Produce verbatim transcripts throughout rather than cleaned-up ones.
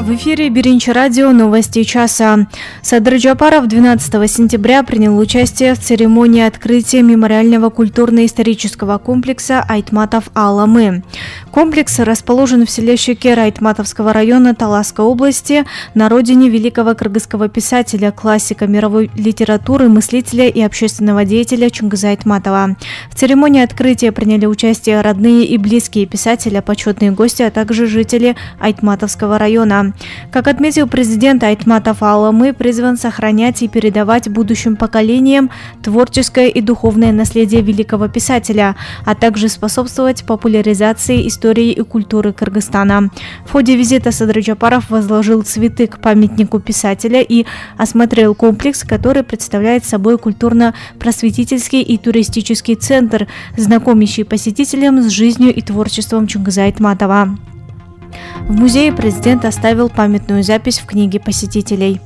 В эфире Биринчи радио, новости часа. Садыр Джапаров двенадцатого сентября принял участие в церемонии открытия мемориального культурно-исторического комплекса Айтматов Аламы. Комплекс расположен в селе Шекер Айтматовского района Таласской области, на родине великого кыргызского писателя, классика мировой литературы, мыслителя и общественного деятеля Чунгыза Айтматова. В церемонии открытия приняли участие родные и близкие писателя, почетные гости, а также жители Айтматовского района. Как отметил президент, Айтматов Аламы призван сохранять и передавать будущим поколениям творческое и духовное наследие великого писателя, а также способствовать популяризации истории и культуры Кыргызстана. В ходе визита Садыр Джапаров возложил цветы к памятнику писателя и осмотрел комплекс, который представляет собой культурно-просветительский и туристический центр, знакомящий посетителям с жизнью и творчеством Чунгыза Айтматова. В музее президент оставил памятную запись в книге посетителей.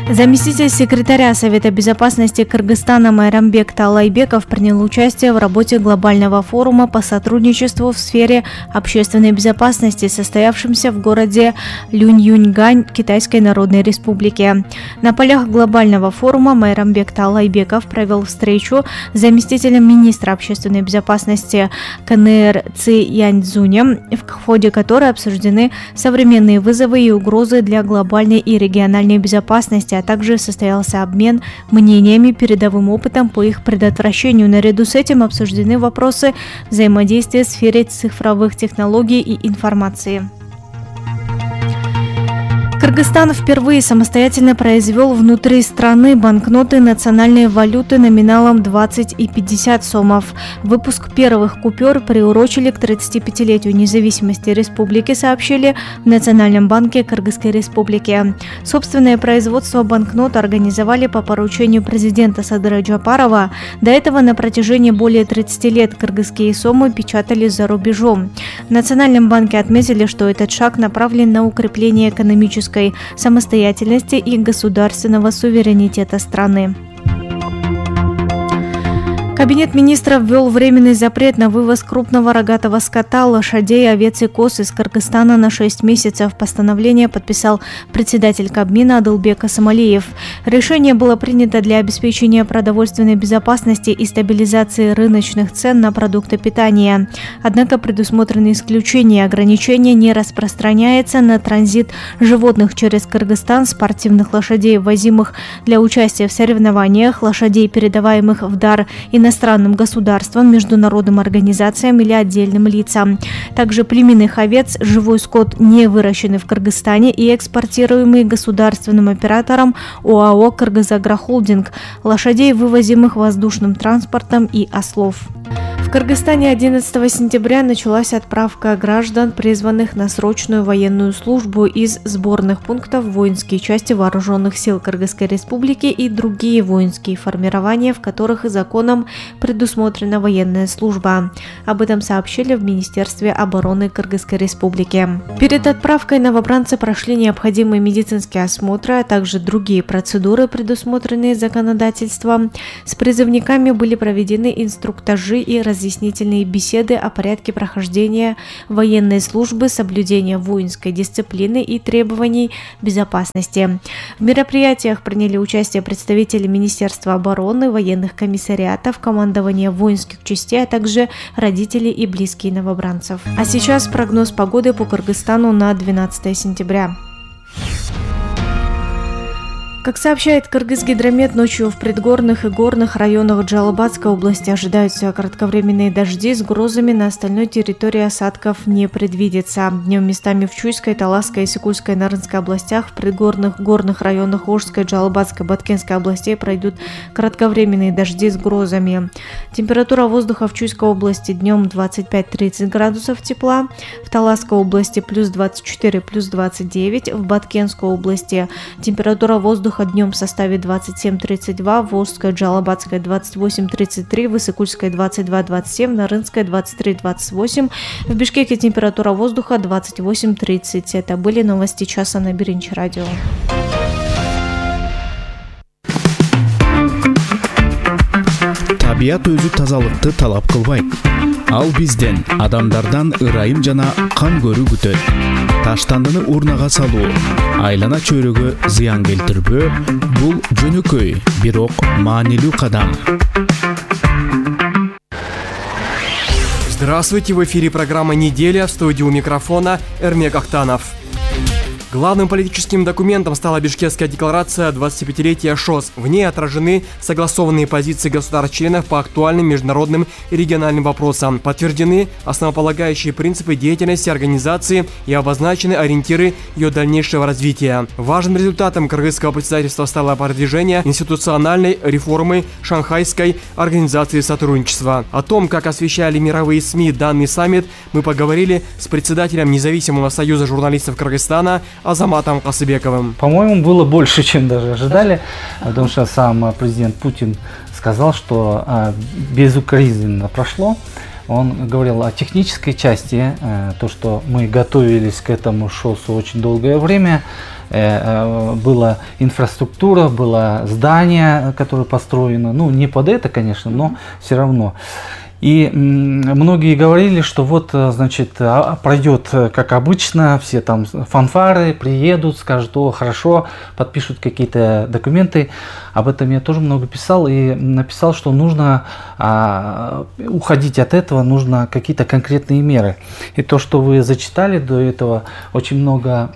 Заместитель секретаря Совета безопасности Кыргызстана Майрамбек Талайбеков принял участие в работе глобального форума по сотрудничеству в сфере общественной безопасности, состоявшемся в городе Люньюньгань Китайской Народной Республики. На полях глобального форума Майрамбек Талайбеков провел встречу с заместителем министра общественной безопасности КНР Ци Яньцзунем, в ходе которой обсуждены современные вызовы и угрозы для глобальной и региональной безопасности, а также состоялся обмен мнениями, передовым опытом по их предотвращению. Наряду с этим обсуждены вопросы взаимодействия в сфере цифровых технологий и информации. Кыргызстан впервые самостоятельно произвел внутри страны банкноты национальной валюты номиналом двадцать и пятьдесят сомов. Выпуск первых купюр приурочили к тридцатипятилетию независимости республики, сообщили в Национальном банке Кыргызской республики. Собственное производство банкнот организовали по поручению президента Садыра Джапарова. До этого на протяжении более тридцати лет кыргызские сомы печатали за рубежом. В Национальном банке отметили, что этот шаг направлен на укрепление экономической самостоятельности и государственного суверенитета страны. Кабинет министров ввел временный запрет на вывоз крупного рогатого скота, лошадей, овец и коз из Кыргызстана на шесть месяцев. Постановление подписал председатель Кабмина Адылбек Асамалиев. Решение было принято для обеспечения продовольственной безопасности и стабилизации рыночных цен на продукты питания. Однако предусмотрены исключения. Ограничение не распространяется на транзит животных через Кыргызстан, спортивных лошадей, ввозимых для участия в соревнованиях, лошадей, передаваемых в дар и иностранным государствам, международным организациям или отдельным лицам. Также племенных овец, живой скот, не выращенный в Кыргызстане и экспортируемый государственным оператором ОАО «Кыргызагрохолдинг», лошадей, вывозимых воздушным транспортом, и ослов. В Кыргызстане одиннадцатого сентября началась отправка граждан, призванных на срочную военную службу, из сборных пунктов в воинские части вооруженных сил Кыргызской республики и другие воинские формирования, в которых законом предусмотрена военная служба. Об этом сообщили в Министерстве обороны Кыргызской республики. Перед отправкой новобранцы прошли необходимые медицинские осмотры, а также другие процедуры, предусмотренные законодательством. С призывниками были проведены инструктажи и разъяснительные беседы о порядке прохождения военной службы, соблюдения воинской дисциплины и требований безопасности. В мероприятиях приняли участие представители Министерства обороны, военных комиссариатов, командования воинских частей, а также родители и близкие новобранцев. А сейчас прогноз погоды по Кыргызстану на двенадцатое сентября. Как сообщает Кыргызгидромет, ночью в предгорных и горных районах Джалабадской области ожидаются кратковременные дожди с грозами, на остальной территории осадков не предвидится. Днем местами в Чуйской, Таласской, Исыкульской, Нарынской областях, в предгорных горных районах Ошской, Джалабадской, Баткенской областей пройдут кратковременные дожди с грозами. Температура воздуха в Чуйской области днем двадцать пять - тридцать градусов тепла, в Таласской области плюс двадцать четыре - плюс двадцать девять, в Баткенской области температура воздуха днем составит двадцать семь - тридцать два, в Ошской, Джалабадской двадцать восемь - тридцать три, в Исыкульской двадцать два - двадцать семь, в Нарынской двадцать три - двадцать восемь, в Бишкеке температура воздуха двадцать восемь - тридцать. Это были новости часа на Биринчи радио. табият өзү тазалыкты талап кылбайт. Ал бизден адамдардан ырайым жана кан көрүү күтөт. Таштандыны урнага салуу айлана чөйрөгө зыян келтирбөө бул жөнөкөй, бирок маанилүү кадам. Здравствуйте, в эфире программа «Неделя», в студии у микрофона Эрмек Ахтанов. Главным политическим документом стала Бишкекская декларация двадцатипятилетия ШОС. В ней отражены согласованные позиции государств-членов по актуальным международным и региональным вопросам. Подтверждены основополагающие принципы деятельности организации и обозначены ориентиры ее дальнейшего развития. Важным результатом кыргызского председательства стало продвижение институциональной реформы Шанхайской организации сотрудничества. О том, как освещали мировые СМИ данный саммит, мы поговорили с председателем Независимого союза журналистов Кыргызстана Азаматом Касыбековым. По-моему, было больше, чем даже ожидали, потому что сам президент Путин сказал, что а, безукоризненно прошло. Он говорил о технической части, а, то, что мы готовились к этому ШОСу очень долгое время. А, была инфраструктура, было здание, которое построено, ну не под это, конечно, но все равно. И многие говорили, что вот, значит, пройдет как обычно, все там фанфары приедут, скажут: о, хорошо, подпишут какие-то документы. Об этом я тоже много писал и написал, что нужно а, уходить от этого, нужно какие-то конкретные меры. И то, что вы зачитали до этого, очень много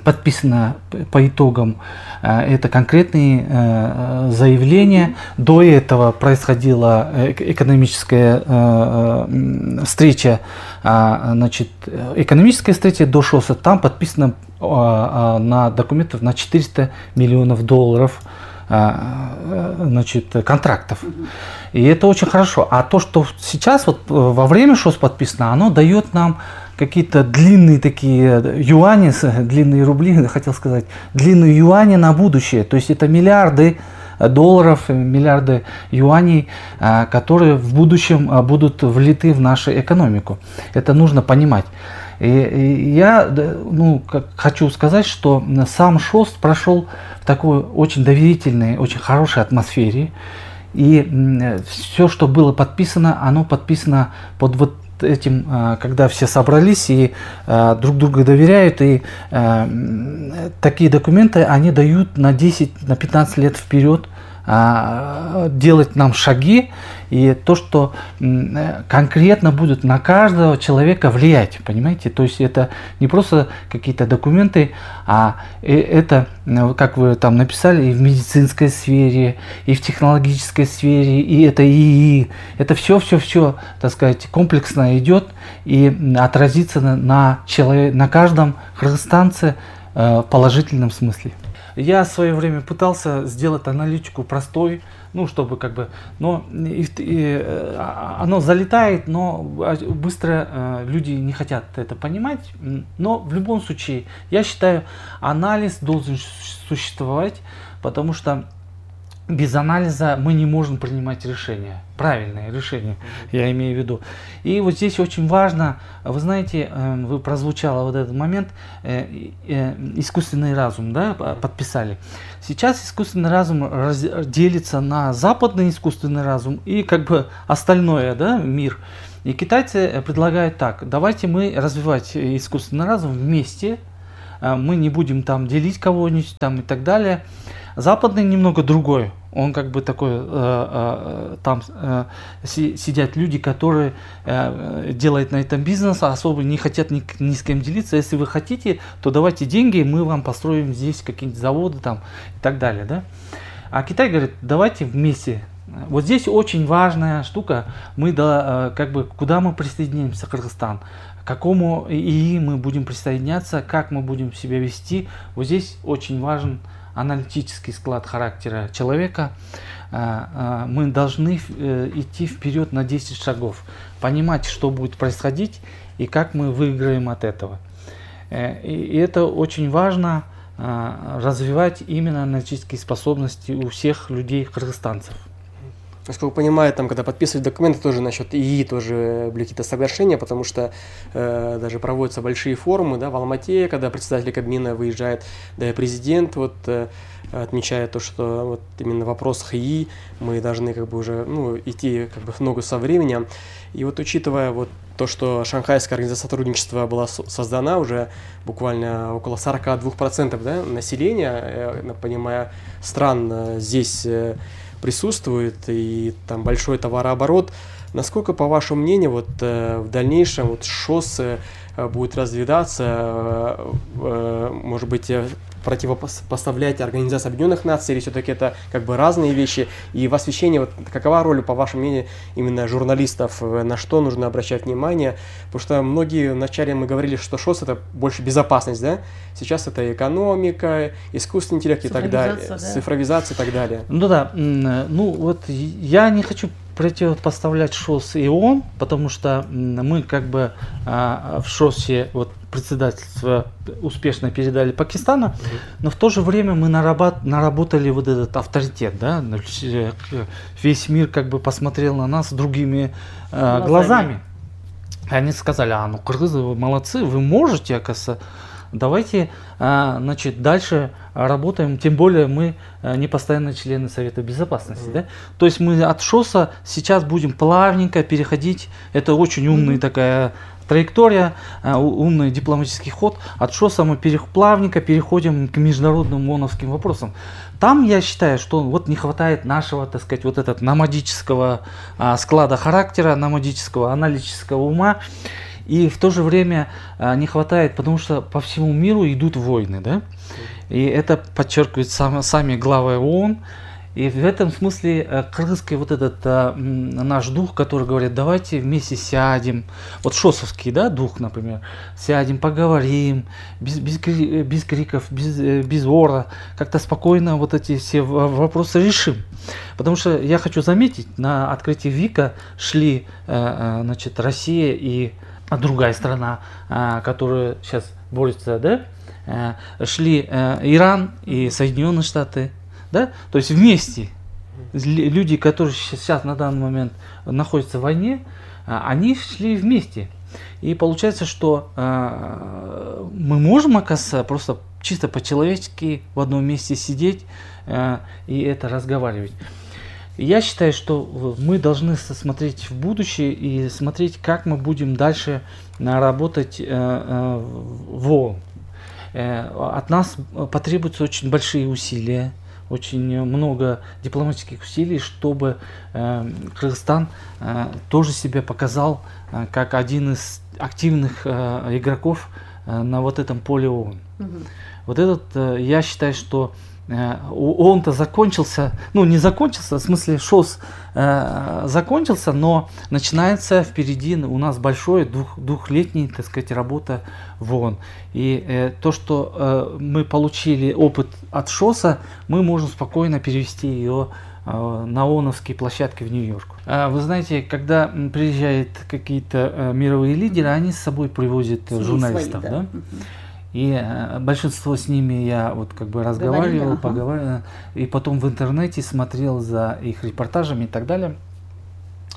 подписано по итогам. Это конкретные э, заявления. До этого происходила экономическая э, встреча, э, значит, экономическая встреча до ШОСа. Там подписано э, э, на документов на четыреста миллионов долларов э, значит, контрактов. И это очень хорошо. А то, что сейчас вот во время ШОС подписано, оно дает нам какие-то длинные такие юани, длинные рубли, хотел сказать, длинные юани на будущее. То есть это миллиарды долларов, миллиарды юаней, которые в будущем будут влиты в нашу экономику. Это нужно понимать. И, и я ну, как, хочу сказать, что сам ШОС прошел в такой очень доверительной, очень хорошей атмосфере. И все, что было подписано, оно подписано под вот этим, когда все собрались и друг другу доверяют, и такие документы они дают на десять, на пятнадцать лет вперед, делать нам шаги, и то, что конкретно будет на каждого человека влиять, понимаете? То есть это не просто какие-то документы, а это, как вы там написали, и в медицинской сфере, и в технологической сфере, и это ИИ, это все-все-все, так сказать, комплексно идет и отразится на, на, человек, на каждом кыргызстанце в положительном смысле. Я в свое время пытался сделать аналитику простой, ну, чтобы как бы, но и, и, оно залетает, но быстро э, люди не хотят это понимать. Но в любом случае, я считаю, анализ должен существовать, потому что без анализа мы не можем принимать решения, правильные решения, я имею в виду. И вот здесь очень важно, вы знаете, вы прозвучало вот этот момент, искусственный разум, да, подписали. Сейчас искусственный разум делится на западный искусственный разум и как бы остальное, да, мир. И китайцы предлагают так: давайте мы развивать искусственный разум вместе, мы не будем там делить кого-нибудь там и так далее. Западный немного другой. Он как бы такой, э, э, там э, си, сидят люди, которые э, делают на этом бизнес, а особо не хотят ни, ни с кем делиться. Если вы хотите, то давайте деньги, мы вам построим здесь какие-нибудь заводы там и так далее, да. А Китай говорит: давайте вместе. Вот здесь очень важная штука. Мы да, как бы куда мы присоединимся, Кыргызстан, к какому ИИ мы будем присоединяться, как мы будем себя вести. Вот здесь очень важен аналитический склад характера человека. Мы должны идти вперед на десять шагов, понимать, что будет происходить и как мы выиграем от этого. И это очень важно, развивать именно аналитические способности у всех людей, кыргызстанцев. Насколько понимаю, там, когда подписывают документы, тоже насчет ИИ тоже были какие-то соглашения, потому что э, даже проводятся большие форумы, да, в Алмате, когда председатель Кабмина выезжает, да и президент вот э, отмечает то, что вот именно в вопросах ИИ мы должны как бы уже, ну, идти как бы в ногу со временем. И вот учитывая вот то, что Шанхайская организация сотрудничества была создана, уже буквально около сорок два процента, да, населения, я понимаю, стран здесь присутствует, и там большой товарооборот. Насколько, по вашему мнению, вот в дальнейшем вот ШОС будет развиваться, может быть, противопоставлять Организации Объединенных Наций, или все-таки это как бы разные вещи? И в освещении, вот, какова роль, по вашему мнению, именно журналистов, на что нужно обращать внимание? Потому что многие вначале мы говорили, что ШОС это больше безопасность, да? Сейчас это экономика, искусственный интеллект и так далее, да. Цифровизация и так далее. Ну да, ну вот я не хочу противопоставлять ШОС и ООН, потому что мы как бы а, в ШОСе вот председательство успешно передали Пакистану, mm-hmm. но в то же время мы наработ- наработали вот этот авторитет, да, весь мир как бы посмотрел на нас другими а, глазами. И они сказали: а ну кыргызы, вы молодцы, вы можете, оказывается. Давайте, значит, дальше работаем, тем более мы не постоянные члены Совета Безопасности. Mm-hmm. Да? То есть мы от ШОСа сейчас будем плавненько переходить, это очень умная mm-hmm. такая траектория, умный дипломатический ход. От ШОСа мы перех, плавненько переходим к международным ООНовским вопросам. Там я считаю, что вот не хватает нашего, так сказать, вот этого номадического а, склада характера, номадического аналитического ума. И в то же время а, не хватает, потому что по всему миру идут войны, да? И это подчеркивают сам, сами главы ООН. И в этом смысле а, кыргызский вот этот а, наш дух, который говорит: давайте вместе сядем, вот шосовский, да, дух, например, сядем, поговорим, без, без, без криков, без, без ора, как-то спокойно вот эти все вопросы решим. Потому что я хочу заметить, на открытии ВИКа шли, а, значит, Россия и а другая страна, а, которая сейчас борется, да, а, шли а, Иран и Соединенные Штаты, да, то есть вместе люди, которые сейчас на данный момент находятся в войне, а, они шли вместе. И получается, что а, мы можем, оказывается, просто чисто по-человечески в одном месте сидеть а, и это разговаривать. Я считаю, что мы должны смотреть в будущее и смотреть, как мы будем дальше работать в ООН. От нас потребуются очень большие усилия, очень много дипломатических усилий, чтобы Кыргызстан тоже себя показал как один из активных игроков на вот этом поле ООН. Угу. Вот этот, я считаю, что ООН-то закончился, ну не закончился, в смысле ШОС э, закончился, но начинается впереди у нас большой двух, двухлетний, так сказать, работа в ООН. И э, то, что э, мы получили опыт от ШОСа, мы можем спокойно перевести ее э, на ООНовские площадки в Нью-Йорк. Э, вы знаете, когда приезжают какие-то э, мировые лидеры, они с собой привозят свои журналистов, свои, да? Да? И э, большинство с ними я вот как бы разговаривал, ага. поговаривал, и потом в интернете смотрел за их репортажами и так далее.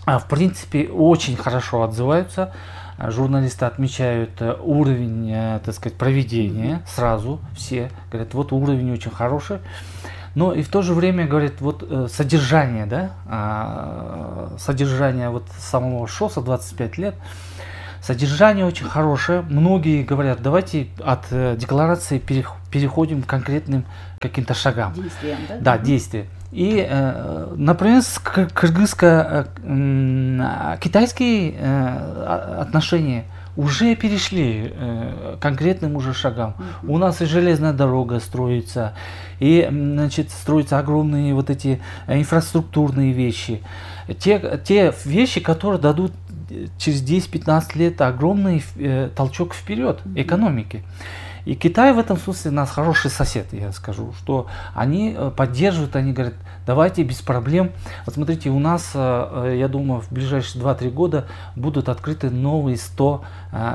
А в принципе очень хорошо отзываются. Журналисты отмечают уровень, э, так сказать, проведения сразу, все говорят, вот уровень очень хороший. Но и в то же время говорят, вот э, содержание, да, э, содержание вот самого ШОСа двадцать пять лет. Содержание очень хорошее. Многие говорят, давайте от э, декларации переходим к конкретным каким-то шагам. Действиям, да? Да, действия. И, э, например, кыргызско-китайские э, отношения уже перешли э, к конкретным уже шагам. Mm-hmm. У нас и железная дорога строится, и, значит, строятся огромные вот эти инфраструктурные вещи. Те, те вещи, которые дадут через десять-пятнадцать лет огромный э, толчок вперед экономики. И Китай в этом смысле у нас хороший сосед, я скажу, что они поддерживают, они говорят, давайте без проблем. Вот смотрите, у нас, я думаю, в ближайшие два-три года будут открыты новые сто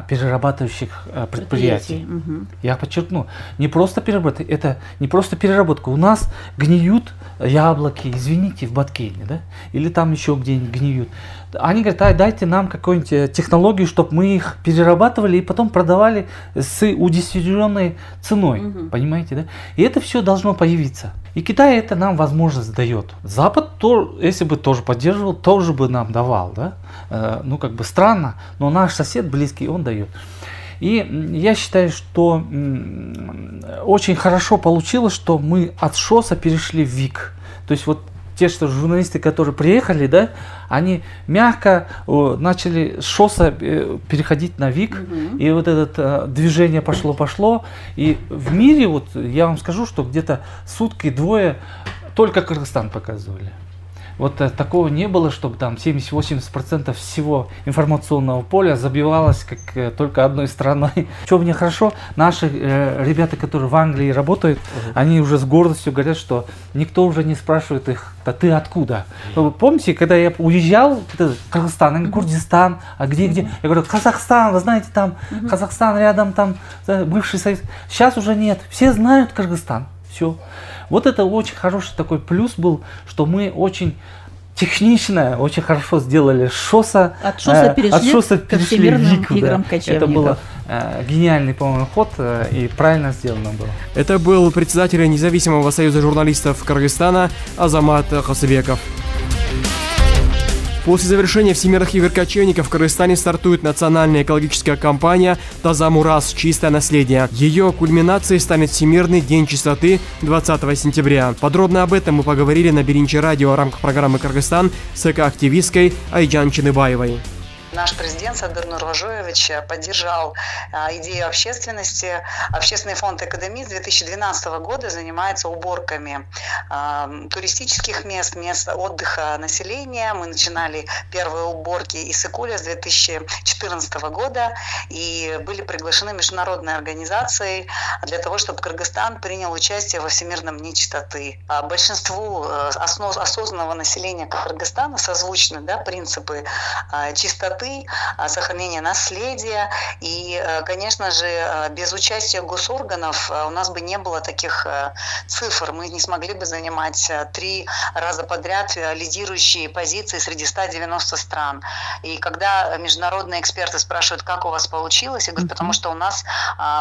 перерабатывающих предприятий. Угу. Я подчеркну, не просто переработка, это не просто переработка. У нас гниют яблоки, извините, в Баткейне, да, или там еще где-нибудь гниют. Они говорят, а, дайте нам какую-нибудь технологию, чтобы мы их перерабатывали и потом продавали с удешевленной ценой, угу. Понимаете, да? И это все должно появиться. И Китай это нам возможность дает. Запад, то, если бы тоже поддерживал, тоже бы нам давал, да? Э, ну, как бы странно, но наш сосед близкий, он дает. И я считаю, что м, очень хорошо получилось, что мы от ШОСа перешли в ВИК. То есть вот те, что журналисты, которые приехали, да, они мягко о, начали с ШОСа э, переходить на ВИК, mm-hmm. и вот это э, движение пошло-пошло. И в мире, вот я вам скажу, что где-то сутки двое только Кыргызстан показывали. Вот э, такого не было, чтобы там семьдесят-восемьдесят процентов всего информационного поля забивалось как э, только одной страной. Что мне хорошо, наши э, ребята, которые в Англии работают, uh-huh. они уже с гордостью говорят, что никто уже не спрашивает их, да ты откуда? Uh-huh. Помните, когда я уезжал в Кыргызстан, uh-huh. Курдистан, а где-где? Uh-huh. Я говорю, Казахстан, вы знаете, там uh-huh. Казахстан рядом, там бывший Союз. Сейчас уже нет, все знают Кыргызстан. Все. Вот это очень хороший такой плюс был, что мы очень технично, очень хорошо сделали ШОСа. От ШОСа перешли, от ШОСа перешли в ВИК. Играм да. Это было э, гениальный, по-моему, ход э, и правильно сделано было. Это был председатель Независимого союза журналистов Кыргызстана Азамат Хасыбеков. После завершения Всемирных игр кочевников в Кыргызстане стартует национальная экологическая кампания «Таза Мурас. Чистое наследие». Ее кульминацией станет Всемирный день чистоты двадцатого сентября. Подробно об этом мы поговорили на Биринчи радио в рамках программы «Кыргызстан» с экоактивисткой Айджан Чыныбаевой. Наш президент Садыр Нургожоевич поддержал а, идею общественности. Общественный фонд «Экодеми» с две тысячи двенадцатого года занимается уборками а, туристических мест, мест отдыха населения. Мы начинали первые уборки Иссык-Куля с две тысячи четырнадцатого года и были приглашены международные организации для того, чтобы Кыргызстан принял участие во Всемирном дне чистоты. А большинству основ, осознанного населения Кыргызстана созвучны да, принципы а, чистоты, сохранения наследия. И, конечно же, без участия госорганов у нас бы не было таких цифр. Мы не смогли бы занимать три раза подряд лидирующие позиции среди ста девяноста стран. И когда международные эксперты спрашивают, как у вас получилось, я говорю, потому что у нас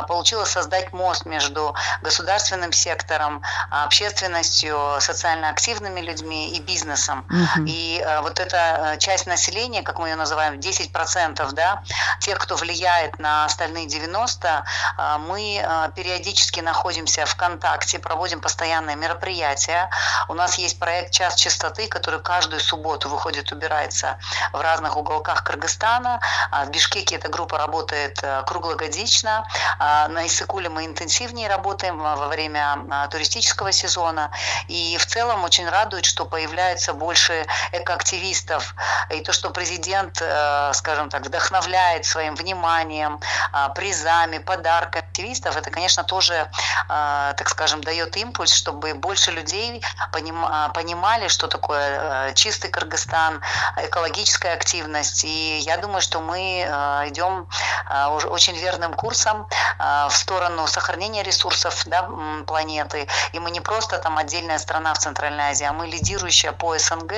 получилось создать мост между государственным сектором, общественностью, социально активными людьми и бизнесом. Mm-hmm. И вот эта часть населения, как мы ее называем, десять процентов, да, тех, кто влияет на остальные девяносто, мы периодически находимся в контакте, проводим постоянные мероприятия. У нас есть проект «Час чистоты», который каждую субботу выходит, убирается в разных уголках Кыргызстана. В Бишкеке эта группа работает круглогодично. На Иссык-Куле мы интенсивнее работаем во время туристического сезона. И в целом очень радует, что появляется больше экоактивистов. И то, что президент, скажем так, вдохновляет своим вниманием, призами, подарками активистов, это, конечно, тоже, так скажем, дает импульс, чтобы больше людей понимали, что такое чистый Кыргызстан, экологическая активность. И я думаю, что мы идем очень верным курсом в сторону сохранения ресурсов, да, планеты. И мы не просто там отдельная страна в Центральной Азии, а мы лидирующая по СНГ.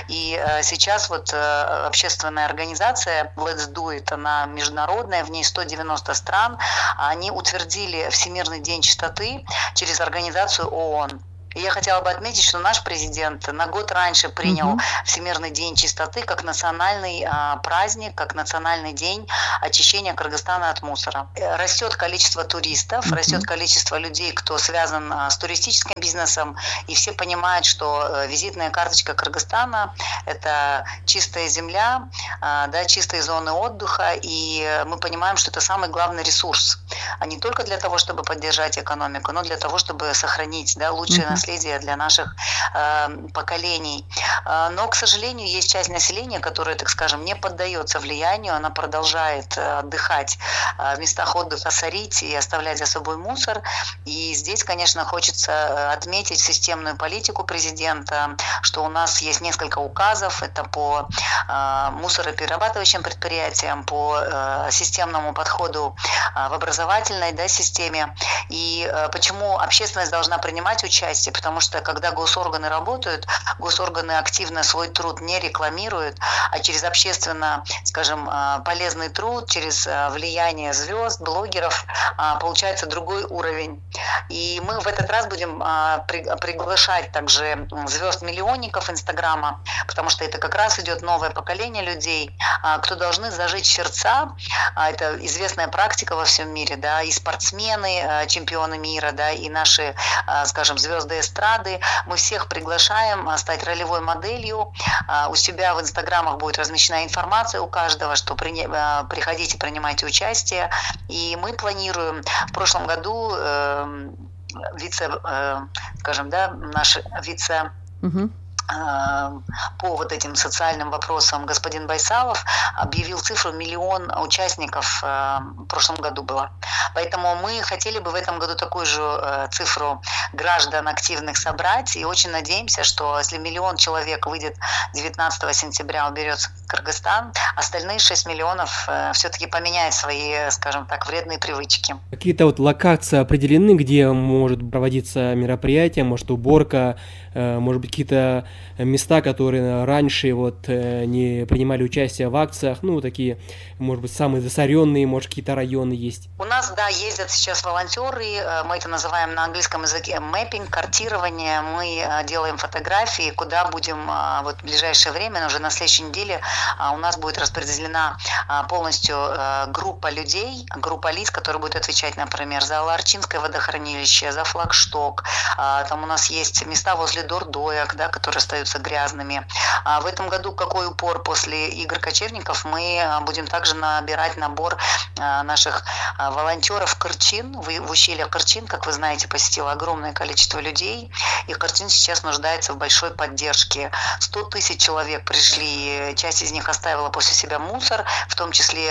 И сейчас вот общественная организация Let's Do It, она международная, в ней сто девяносто стран. Они утвердили Всемирный день чистоты через организацию ООН. И я хотела бы отметить, что наш президент на год раньше принял uh-huh. Всемирный день чистоты как национальный а, праздник, как национальный день очищения Кыргызстана от мусора. Растет количество туристов, uh-huh. растет количество людей, кто связан а, с туристическим бизнесом, и все понимают, что а, визитная карточка Кыргызстана – это чистая земля, а, да, чистые зоны отдыха, и мы понимаем, что это самый главный ресурс, а не только для того, чтобы поддержать экономику, но для того, чтобы сохранить да, лучшие uh-huh. наследие для наших э, поколений. Но, к сожалению, есть часть населения, которая, так скажем, не поддается влиянию, она продолжает отдыхать в местах отдыха, сорить и оставлять за собой мусор. И здесь, конечно, хочется отметить системную политику президента, что у нас есть несколько указов, это по э, мусороперерабатывающим предприятиям, по э, системному подходу э, в образовательной, да, системе. И э, почему общественность должна принимать участие? Потому что когда госорганы работают, госорганы активно свой труд не рекламируют, а через общественно, скажем, э, полезный труд, через э, влияние звезд, блогеров э, получается другой уровень. И мы в этот раз будем э, при, приглашать также звезд-миллионников Инстаграма, потому что это как раз идет новое поколение людей, кто должны зажечь сердца. Это известная практика во всем мире, да, и спортсмены, чемпионы мира, да, и наши, скажем, звезды эстрады. Мы всех приглашаем стать ролевой моделью. У себя в Инстаграмах будет размещена информация у каждого, что приходите, принимайте участие. И мы планируем в прошлом году э, вице, э, скажем, да, наш вице... Угу. По вот этим социальным вопросам господин Байсалов объявил цифру миллион участников в прошлом году было. Поэтому мы хотели бы в этом году такую же цифру граждан активных собрать и очень надеемся, что если миллион человек выйдет девятнадцатого сентября, уберется Кыргызстан, остальные шесть миллионов все-таки поменяют свои, скажем так, вредные привычки. Какие-то вот локации определены, где может проводиться мероприятие, может уборка, может быть какие-то места, которые раньше вот не принимали участие в акциях, ну такие, может быть, самые засоренные, может какие-то районы есть? У нас, да, ездят сейчас волонтеры, мы это называем на английском языке мэппинг, картирование, мы делаем фотографии, куда будем вот в ближайшее время, уже на следующей неделе у нас будет распределена полностью группа людей, группа лиц, которые будут отвечать, например, за Аларчинское водохранилище, за флагшток, там у нас есть места возле дордоек, да, которые остаются грязными. А в этом году какой упор после игр кочевников? Мы будем также набирать набор наших волонтеров Кырчин. В ущелье Кырчин, как вы знаете, посетило огромное количество людей, и Кырчин сейчас нуждается в большой поддержке. сто тысяч человек пришли, часть из них оставила после себя мусор, в том числе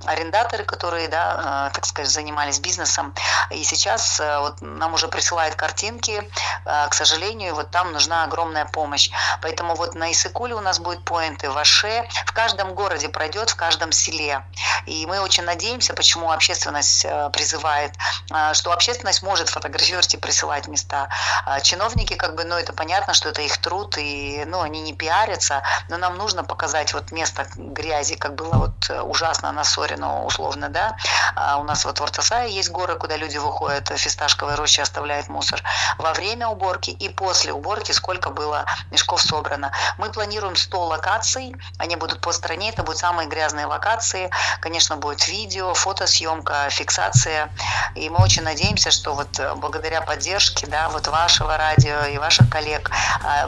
арендаторы, которые, да, так сказать, занимались бизнесом. И сейчас вот нам уже присылают картинки. К сожалению, вот там нужна огромная помощь. Поэтому вот на Иссыкуле у нас будет поинты, в Аше, в каждом городе пройдет, в каждом селе. И мы очень надеемся, почему общественность призывает, что общественность может фотографировать и присылать места. Чиновники, как бы, ну это понятно, что это их труд, и ну, они не пиарятся, но нам нужно показать вот место грязи, как было вот ужасно на Сорину, условно, да. У нас вот в Ортасае есть горы, куда люди выходят, в фисташковой роще оставляют мусор. Во время уборки и после уборки сколько было мешков собрано. Мы планируем сто локаций, они будут по стране, это будут самые грязные локации. Конечно, будет видео, фотосъемка, фиксация. И мы очень надеемся, что вот благодаря поддержке, да, вот вашего радио и ваших коллег,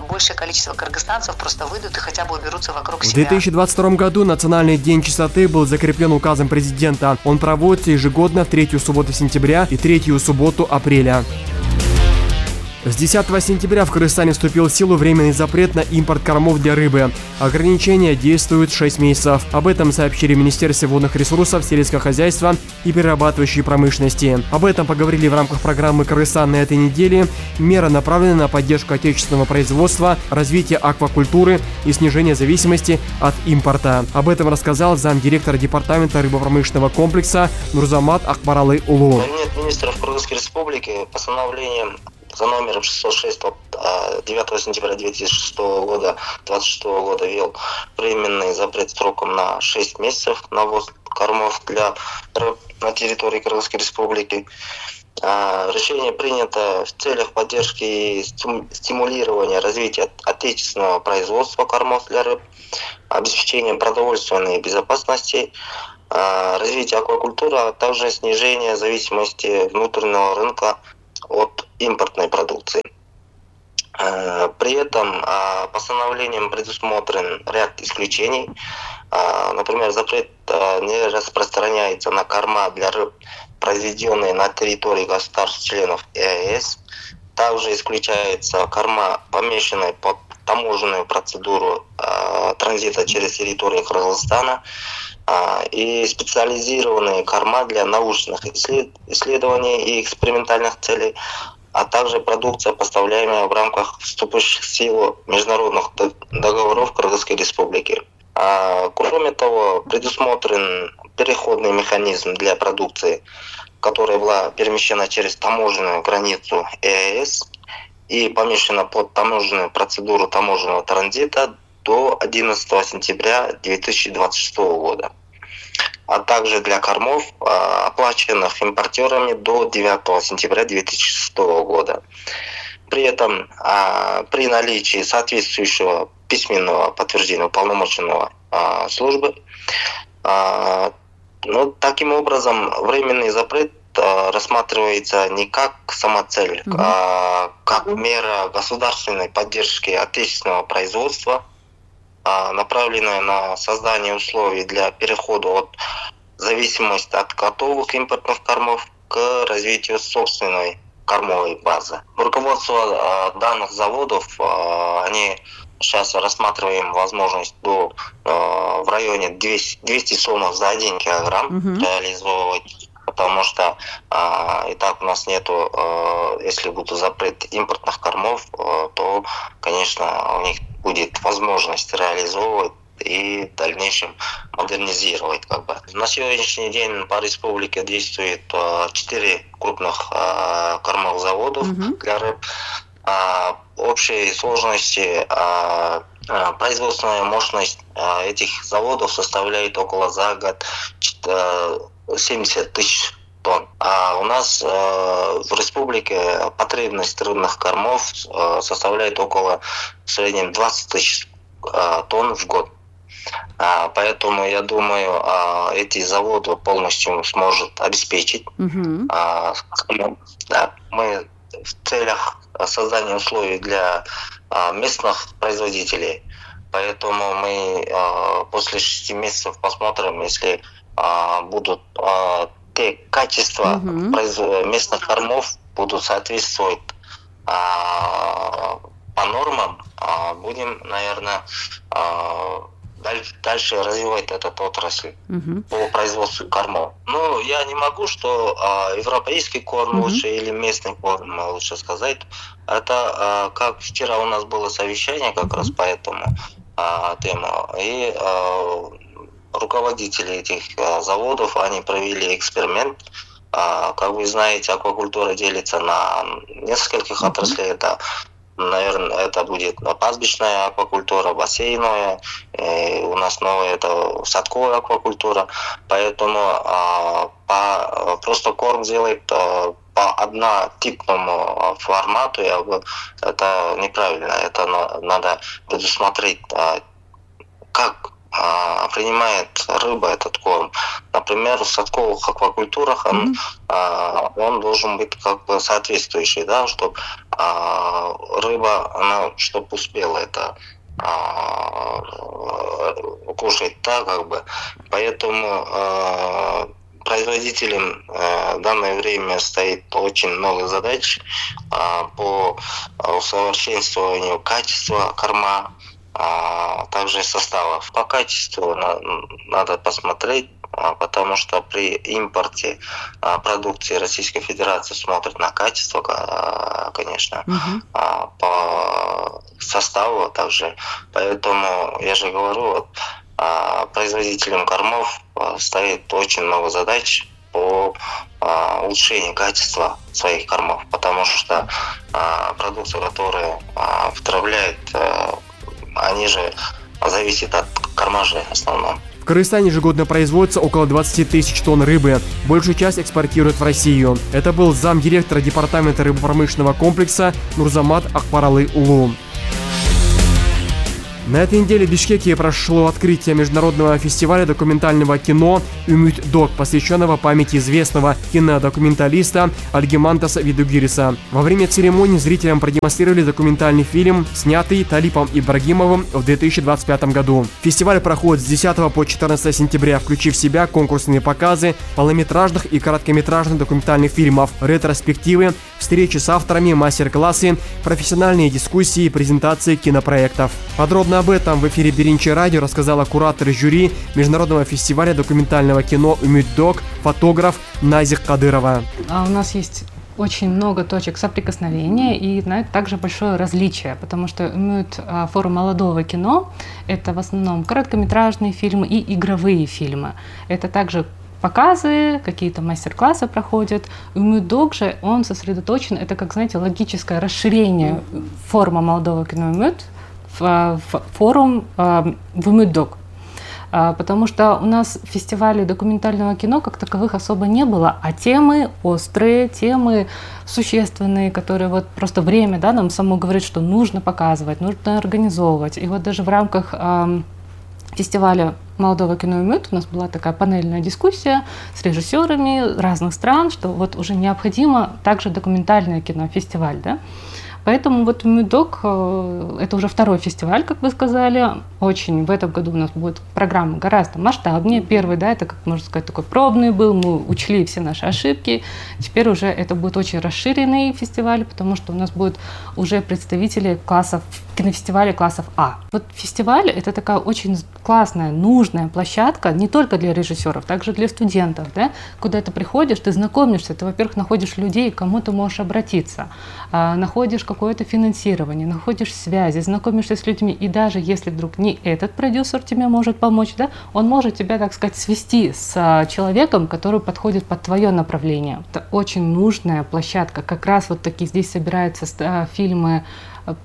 большее количество кыргызстанцев просто выйдут и хотя бы уберутся вокруг себя. В две тысячи двадцать втором году Национальный день чистоты был закреплен указом президента. Он проводится ежегодно в третью субботу сентября и третью субботу апреля. С десятого сентября в Кыргызстане вступил в силу временный запрет на импорт кормов для рыбы. Ограничения действуют шесть месяцев. Об этом сообщили в Министерстве водных ресурсов, сельского хозяйства и перерабатывающей промышленности. Об этом поговорили в рамках программы «Кыргызстан» на этой неделе. Мера направлена на поддержку отечественного производства, развитие аквакультуры и снижение зависимости от импорта. Об этом рассказал замдиректора департамента рыбопромышленного комплекса Нурзамат Акбаралы Улу. Кабинет министров Кыргызской республики постановлением за номером шестьсот шесть от девятого сентября две тысячи шестого года, двадцать шестого года ввел временный запрет сроком на шесть месяцев на ввоз кормов для рыб на территории Кыргызской республики. Решение принято в целях поддержки и стимулирования развития отечественного производства кормов для рыб, обеспечения продовольственной безопасности, развития аквакультуры, а также снижения зависимости внутреннего рынка от импортной продукции. При этом постановлением предусмотрен ряд исключений. Например, запрет не распространяется на корма для рыб, произведенные на территории государств-членов ЕАЭС. Также исключается корма, помещенная под таможенную процедуру э, транзита через территорию Кыргызстана, э, и специализированные корма для научных исслед... исследований и экспериментальных целей, а также продукция, поставляемая в рамках вступивших в силу международных договоров Кыргызской Республики. А, кроме того, предусмотрен переходный механизм для продукции, которая была перемещена через таможенную границу ЕАЭС и помещена под таможенную процедуру таможенного транзита до одиннадцатого сентября две тысячи двадцать шестого года, а также для кормов, оплаченных импортерами до девятого сентября две тысячи шестого года. При этом при наличии соответствующего письменного подтверждения уполномоченного службы, ну, таким образом временный запрет рассматривается не как самоцель, угу. а как мера государственной поддержки отечественного производства, направленная на создание условий для перехода от зависимости от готовых импортных кормов к развитию собственной кормовой базы. Руководство данных заводов, они сейчас рассматриваем возможность до в районе двести сомов за один килограмм угу. реализовывать, потому что и так у нас нету, если будет запрет импортных кормов, то, конечно, у них будет возможность реализовывать и в дальнейшем модернизировать. Как бы. На сегодняшний день по республике действует четыре крупных кормовых заводов угу. для рыб. Общей сложности производственная мощность этих заводов составляет около за год семьдесят тысяч тонн. А у нас в республике потребность рыбных кормов составляет около в среднем двадцать тысяч тонн в год. Поэтому я думаю, эти заводы полностью сможет обеспечить. Mm-hmm. Да, мы в целях создания условий для местных производителей. Поэтому мы после шести месяцев посмотрим, если будут те качества mm-hmm. местных кормов будут соответствовать по нормам, будем, наверное, дальше развивать этот отрасль uh-huh. по производству кормов. Ну, я не могу, что а, европейский корм uh-huh. лучше или местный корм, лучше сказать. Это, а, как вчера у нас было совещание как uh-huh. раз по этому а, тему. И а, руководители этих а, заводов, они провели эксперимент. А, как вы знаете, аквакультура делится на нескольких uh-huh. отраслей. Это наверное, это будет пастбищная аквакультура, бассейновая, и у нас новая это садковая аквакультура, поэтому а, по, просто корм делает а, по однотипному формату, я бы, это неправильно, это на, надо предусмотреть, а, как а, принимает рыба этот корм. Например, в садковых аквакультурах он, mm-hmm. а, он должен быть как бы соответствующий, да, чтобы а, рыба, она, чтобы успела это а, кушать, да, как бы. Поэтому а, производителям а, в данное время стоит очень много задач а, по усовершенствованию качества корма, а также составов. По качеству на, надо посмотреть, а, потому что при импорте а, продукции Российской Федерации смотрят на качество, а, конечно, uh-huh. а, по составу также. Поэтому я же говорю, вот, а, производителям кормов а, стоит очень много задач по а, улучшению качества своих кормов, потому что а, продукция, которая а, втравляет, а, они же зависят от кормажей в основном. В Кыргызстане ежегодно производится около двадцать тысяч тонн рыбы. Большую часть экспортируют в Россию. Это был замдиректора департамента рыбопромышленного комплекса Нурзамат Акбаралы Улу. На этой неделе в Бишкеке прошло открытие международного фестиваля документального кино «Умит Док», посвященного памяти известного кинодокументалиста Альгимантаса Видугириса. Во время церемонии зрителям продемонстрировали документальный фильм, снятый Талипом Ибрагимовым в две тысячи двадцать пятом году. Фестиваль проходит с десятого по четырнадцатое сентября, включив в себя конкурсные показы полнометражных и короткометражных документальных фильмов, ретроспективы, встречи с авторами, мастер-классы, профессиональные дискуссии и презентации кинопроектов. Подробно об этом в эфире Беринчи радио рассказала куратор жюри Международного фестиваля документального кино «Умит Док», фотограф Назих Кадырова. А у нас есть очень много точек соприкосновения и на это также большое различие, потому что «Умит» форум молодого кино – это в основном короткометражные фильмы и игровые фильмы. Это также показы, какие-то мастер-классы проходят. «Умит Док» же, он сосредоточен, это, как, знаете, логическое расширение форума молодого кино «Умит», в форум в «Умит Док». Потому что у нас фестивалей документального кино как таковых особо не было, а темы острые, темы существенные, которые вот просто время, да, нам само говорит, что нужно показывать, нужно организовывать. И вот даже в рамках э, фестиваля молодого кино «Умит» у нас была такая панельная дискуссия с режиссерами разных стран, что вот уже необходимо также документальное кино, фестиваль, да. Поэтому вот «Умит Док» — это уже второй фестиваль, как вы сказали. Очень в этом году у нас будет программа гораздо масштабнее. Первый, да, это, как можно сказать, такой пробный был, мы учли все наши ошибки. Теперь уже это будет очень расширенный фестиваль, потому что у нас будут уже представители классов, кинофестиваля классов А. Вот фестиваль — это такая очень классная, нужная площадка не только для режиссеров, также для студентов, да, куда ты приходишь, ты знакомишься, ты, во-первых, находишь людей, к кому ты можешь обратиться, находишь какое-то финансирование, находишь связи, знакомишься с людьми, и даже если вдруг не этот продюсер тебе может помочь, да, он может тебя, так сказать, свести с человеком, который подходит под твое направление. Это очень нужная площадка, как раз вот такие здесь собираются фильмы,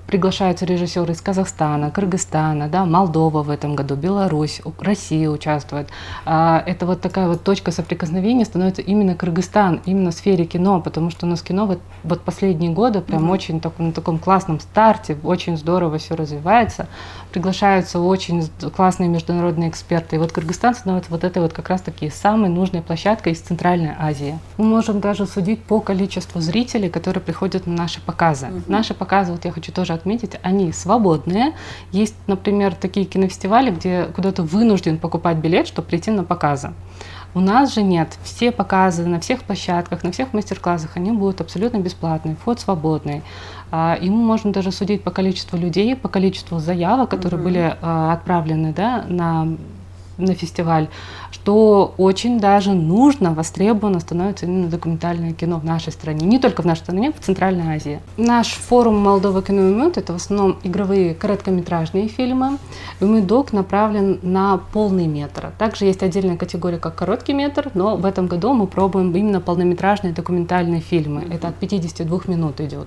приглашаются режиссеры из Казахстана, Кыргызстана, да, Молдова в этом году, Беларусь, Россия участвует. Это вот такая вот точка соприкосновения становится именно Кыргызстан, именно в сфере кино, потому что у нас кино вот, вот последние годы прям mm-hmm. очень так, на таком классном старте, очень здорово все развивается, приглашаются очень классные международные эксперты. И вот Кыргызстан становится вот этой вот как раз-таки самой нужной площадкой из Центральной Азии. Мы можем даже судить по количеству зрителей, которые приходят на наши показы. Mm-hmm. Наши показы, вот я хочу тоже отметить, они свободные. Есть, например, такие кинофестивали, где куда ты вынужден покупать билет, чтобы прийти на показы. У нас же нет. Все показы на всех площадках, на всех мастер-классах, они будут абсолютно бесплатные, вход свободный. И мы можем даже судить по количеству людей, по количеству заявок, которые mm-hmm. были отправлены, да, на, на фестиваль, что очень даже нужно, востребовано становится именно документальное кино в нашей стране. Не только в нашей стране, в Центральной Азии. Наш форум молодого кино «Умит» — это в основном игровые короткометражные фильмы. «Умит Док» направлен на полный метр. Также есть отдельная категория, как короткий метр, но в этом году мы пробуем именно полнометражные документальные фильмы. Mm-hmm. Это от пятидесяти двух минут идет.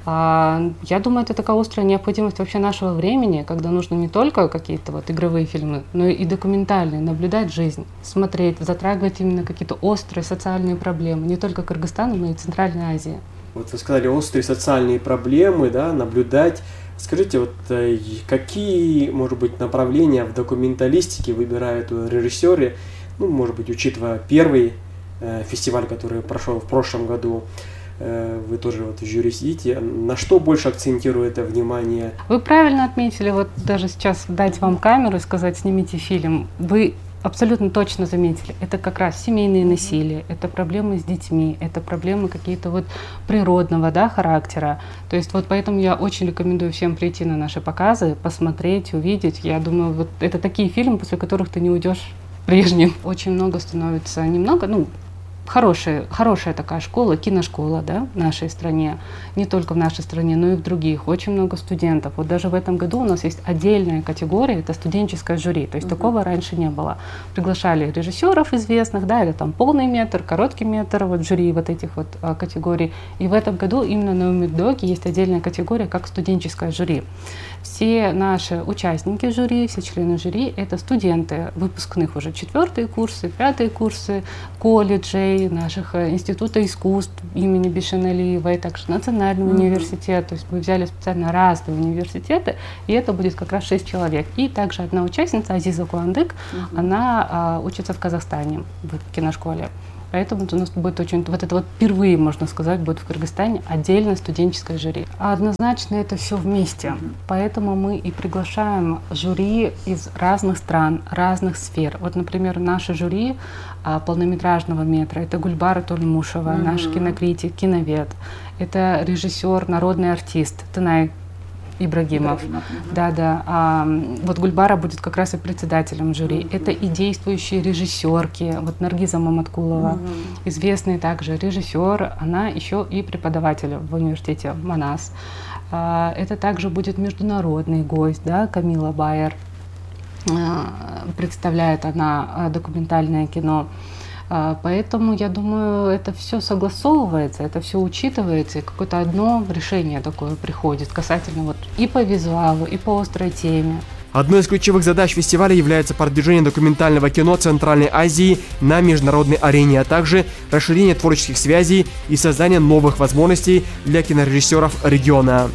Я думаю, это такая острая необходимость вообще нашего времени, когда нужно не только какие-то вот игровые фильмы, но и документальные, наблюдать жизнь, смотреть, затрагивать именно какие-то острые социальные проблемы, не только Кыргызстана, но и Центральной Азии. Вот вы сказали, острые социальные проблемы, да, наблюдать. Скажите, вот какие, может быть, направления в документалистике выбирают режиссеры, ну, может быть, учитывая первый э, фестиваль, который прошел в прошлом году, вы тоже вот в жюри сидите, на что больше акцентирует внимание? Вы правильно отметили, вот даже сейчас дать вам камеру и сказать, снимите фильм, вы абсолютно точно заметили, это как раз семейные насилия, это проблемы с детьми, это проблемы какие-то вот природного, да, характера. То есть вот поэтому я очень рекомендую всем прийти на наши показы, посмотреть, увидеть. Я думаю, вот это такие фильмы, после которых ты не уйдешь прежним. Очень много становится, немного, ну, Хорошая, хорошая такая школа, киношкола, да, в нашей стране, не только в нашей стране, но и в других, очень много студентов. Вот даже в этом году у нас есть отдельная категория, это студенческое жюри, то есть uh-huh. такого раньше не было. Приглашали режиссеров известных, да, это там полный метр, короткий метр, вот жюри вот этих вот а, категорий. И в этом году именно на «Умит Доке» есть отдельная категория, как студенческое жюри. Все наши участники жюри, все члены жюри — это студенты выпускных уже четвертые курсы, пятые курсы колледжей, музей наших института искусств имени Бишеналиевой, также Национальный mm-hmm. университет. То есть мы взяли специально разные университеты, и это будет как раз шесть человек. И также одна участница, Азиза Куандык, mm-hmm. она а, учится в Казахстане в киношколе. Поэтому у нас будет очень, вот это вот впервые, можно сказать, будет в Кыргызстане отдельное студенческое жюри. А однозначно это все вместе. Поэтому мы и приглашаем жюри из разных стран, разных сфер. Вот, например, наше жюри а, полнометражного метра — это Гульбара Тольмушева, mm-hmm. наш кинокритик, киновед. Это режиссер, народный артист Тынай Ибрагимов. Ибрагимов. Да, да. А, вот Гульбара будет как раз и председателем жюри. Mm-hmm. Это и действующие режиссерки. Вот Наргиза Маматкулова, mm-hmm. известный также режиссер, она еще и преподаватель в университете Манас. А, это также будет международный гость, да, Камила Байер. А, представляет она документальное кино. Поэтому, я думаю, это все согласовывается, это все учитывается, и какое-то одно решение такое приходит касательно вот и по визуалу, и по острой теме. Одной из ключевых задач фестиваля является продвижение документального кино Центральной Азии на международной арене, а также расширение творческих связей и создание новых возможностей для кинорежиссеров региона.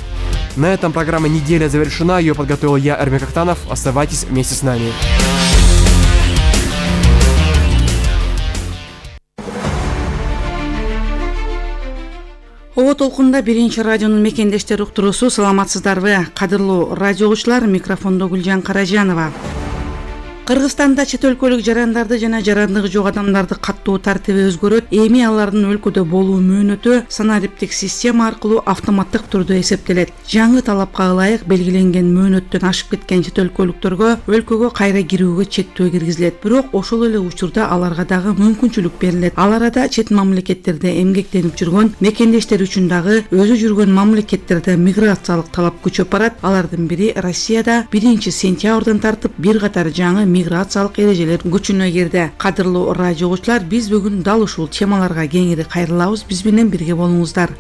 На этом программа «Неделя» завершена. Ее подготовил я, Эрмек Актанов. Оставайтесь вместе с нами. Ого толкунда биринчи радионун мекендештери уктуруусу. Саламатсыздарбы? Кадырлуу радио угуучулар, микрофондо Гүлжан Каражанова. Кыргызстанда чет өлкөлүк жарандарды жана жарандыгы жок адамдарды каттоо тартиби өзгөрөт. Эми алардын өлкөдө болуу мөөнөтү санариптик система аркылуу автоматтык түрдө эсептелет. Жаңы талапка ылайык белгиленген мөөнөттөн ашып кеткен чет өлкөлүктөргө өлкөгө кайра кирүүгө чектөө киргизилет. Бирок ошол эле учурда аларга дагы мүмкүнчүлүк берилет. Ал арада чет мамлекеттерде эмгектенип жүргөн мекендештер үчүн дагы өзү жүргөн мамлекеттерде миграциялык талап күчөп барат. Алардын бири Россияда биринчи сентябрдан тартып бир катар жаңы миграциялык эрежелер күчүнө кирди. Кадырлуу радио угуучулар, биз бүгүн дал ушул темаларга кеңири кайрылабыз. Биз менен бирге болуңуздар.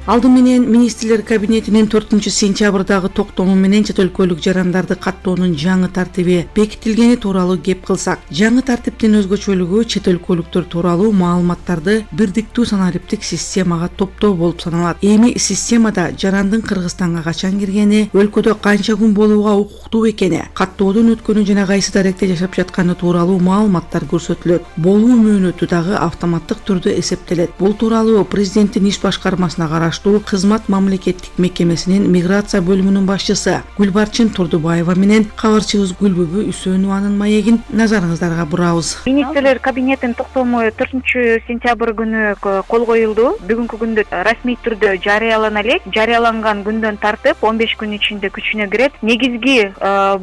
Алды менен министрлер кабинетинин төртүнчү сентябрдагы токтому менен чет өлкөлүк жарандарды каттоонун жаңы тартиби бекитилгени тууралуу кеп кылсак, жаңы тартиптин өзгөчөлүгү чет өлкөлүктөр тууралуу маалыматтарды бирдиктүү санариптик системага топтоо болуп саналат. Эми системада жарандын Кыргызстанга качан киргени, өлкөдө канча күн болууга укуктуу экени, каттоодон өткөнү жана кайсы даректе жашап жатканы тууралуу маалыматтар көрсөтүлөт. Болуу мөөнөтү дагы автоматтык түрдө эсептелет. Бул тууралуу президенттин иш башкармасына караш кызмат мамлекеттик мекемесинин миграция бөлүмүнүн башчысы Гүлбарчын Турдубаева менен кабарчыбыз Гүлбүбү Үсөнованын маегин назарыңыздарга бурабыз. Министрлер кабинетинин токтому төртүнчү сентябрь күнү кол коюлду. Бүгүнкү күндө расмий түрдө жарыялана элек. Жарыяланган күндөн тартып он беш күн ичинде күчүнө кирет. Негизги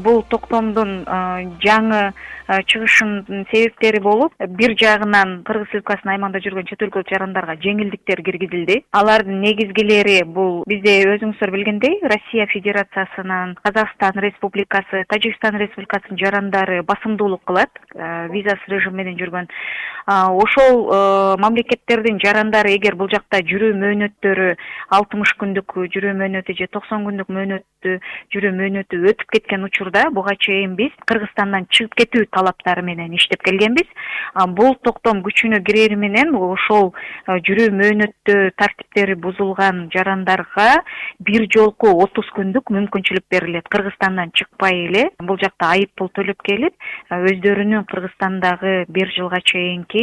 бул токтомдун жаңы чыгышынын себептери болуп, бир жагынан Кыргыз Республикасынын аймагында жүргөн чет өлкөлүк жарандарга жеңилдиктер киргизилди. Алардын негизгилери бул бизде өзүңүздөр билгендей Россия Федерациясынын, Казакстан Республикасы, Тажикстан Республикасынын жарандары басымдуулук кылат, визасыз режим менен жүргөн. Ошол мамлекеттердин жарандары эгер бул жакта жүрүү мөөнөттөрү алтымыш күндүк жүрүү мөөнөтү же токсон күндүк мөөнөттү жүрүү мөөнөтү өтүп кеткен учурда буга чейин биз Кыргызстандан чыгып кетүү талаптары менен иштеп келгенбиз. Бул токтом күчүнө кирери менен ошол жүрүү мөөнөттү тартиптери бузулган жарандарга бир жолку отуз күндүк мүмкүнчүлүк берилет. Кыргызстандан чыкпай эле бул жакта айып пул төлөп келип, өздөрүнүн Кыргызстандагы бир жылга чейинки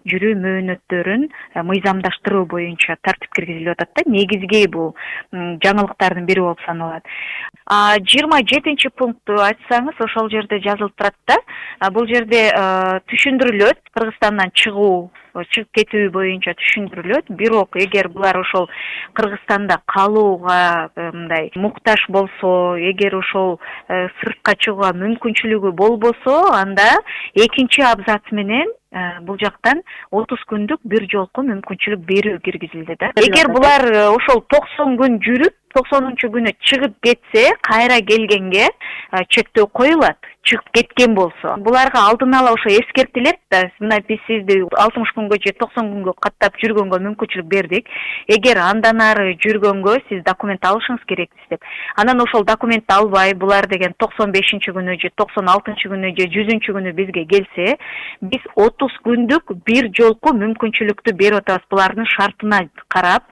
жүрүү мөөнөттөрүн мыйзамдаштыруу боюнча тартип киргизилип атат да. Негизги бул жаңылыктардын бири болуп саналат. жыйырма жетинчи пунктту айтсаңыз, ошол жерде жазылып турат да. Бул жерде түшүндүрүлөт, Кыргызстандан чыгуу, чыгып кетүү боюнча түшүндүрүлөт. Бирок эгер булар ошол Кыргызстанда калууга мындай муктаж болсо, эгер ошол сыртка чыгууга мүмкүнчүлүгү болбосо, анда экинчи абзац менен бул жактан отуз күндүк бир жолку мүмкүнчүлүк берүү киргизилди да. Эгер булар ошол токсон күн жүрүп, токсонунчу күнү чыгып кетсе, кайра келгенге чектөө коюлат. Чыгып кеткен болсо, буларга алдын ала ошо эскертилет да. Мына биз сизди алтымыш күнгө же токсон күнгө каттап жүргөнгө мүмкүнчүлүк бердик. Эгер андан ары жүргөнгө сиз документ алышыңыз керекпиз деп. Анан ошол документти албай, булар деген токсон бешинчи күнү же токсон алтынчы күнү же жүзүнчү күнү бизге келсе, биз отуз күндүк бир жолку мүмкүнчүлүктү берип атабыз булардын шартына карап.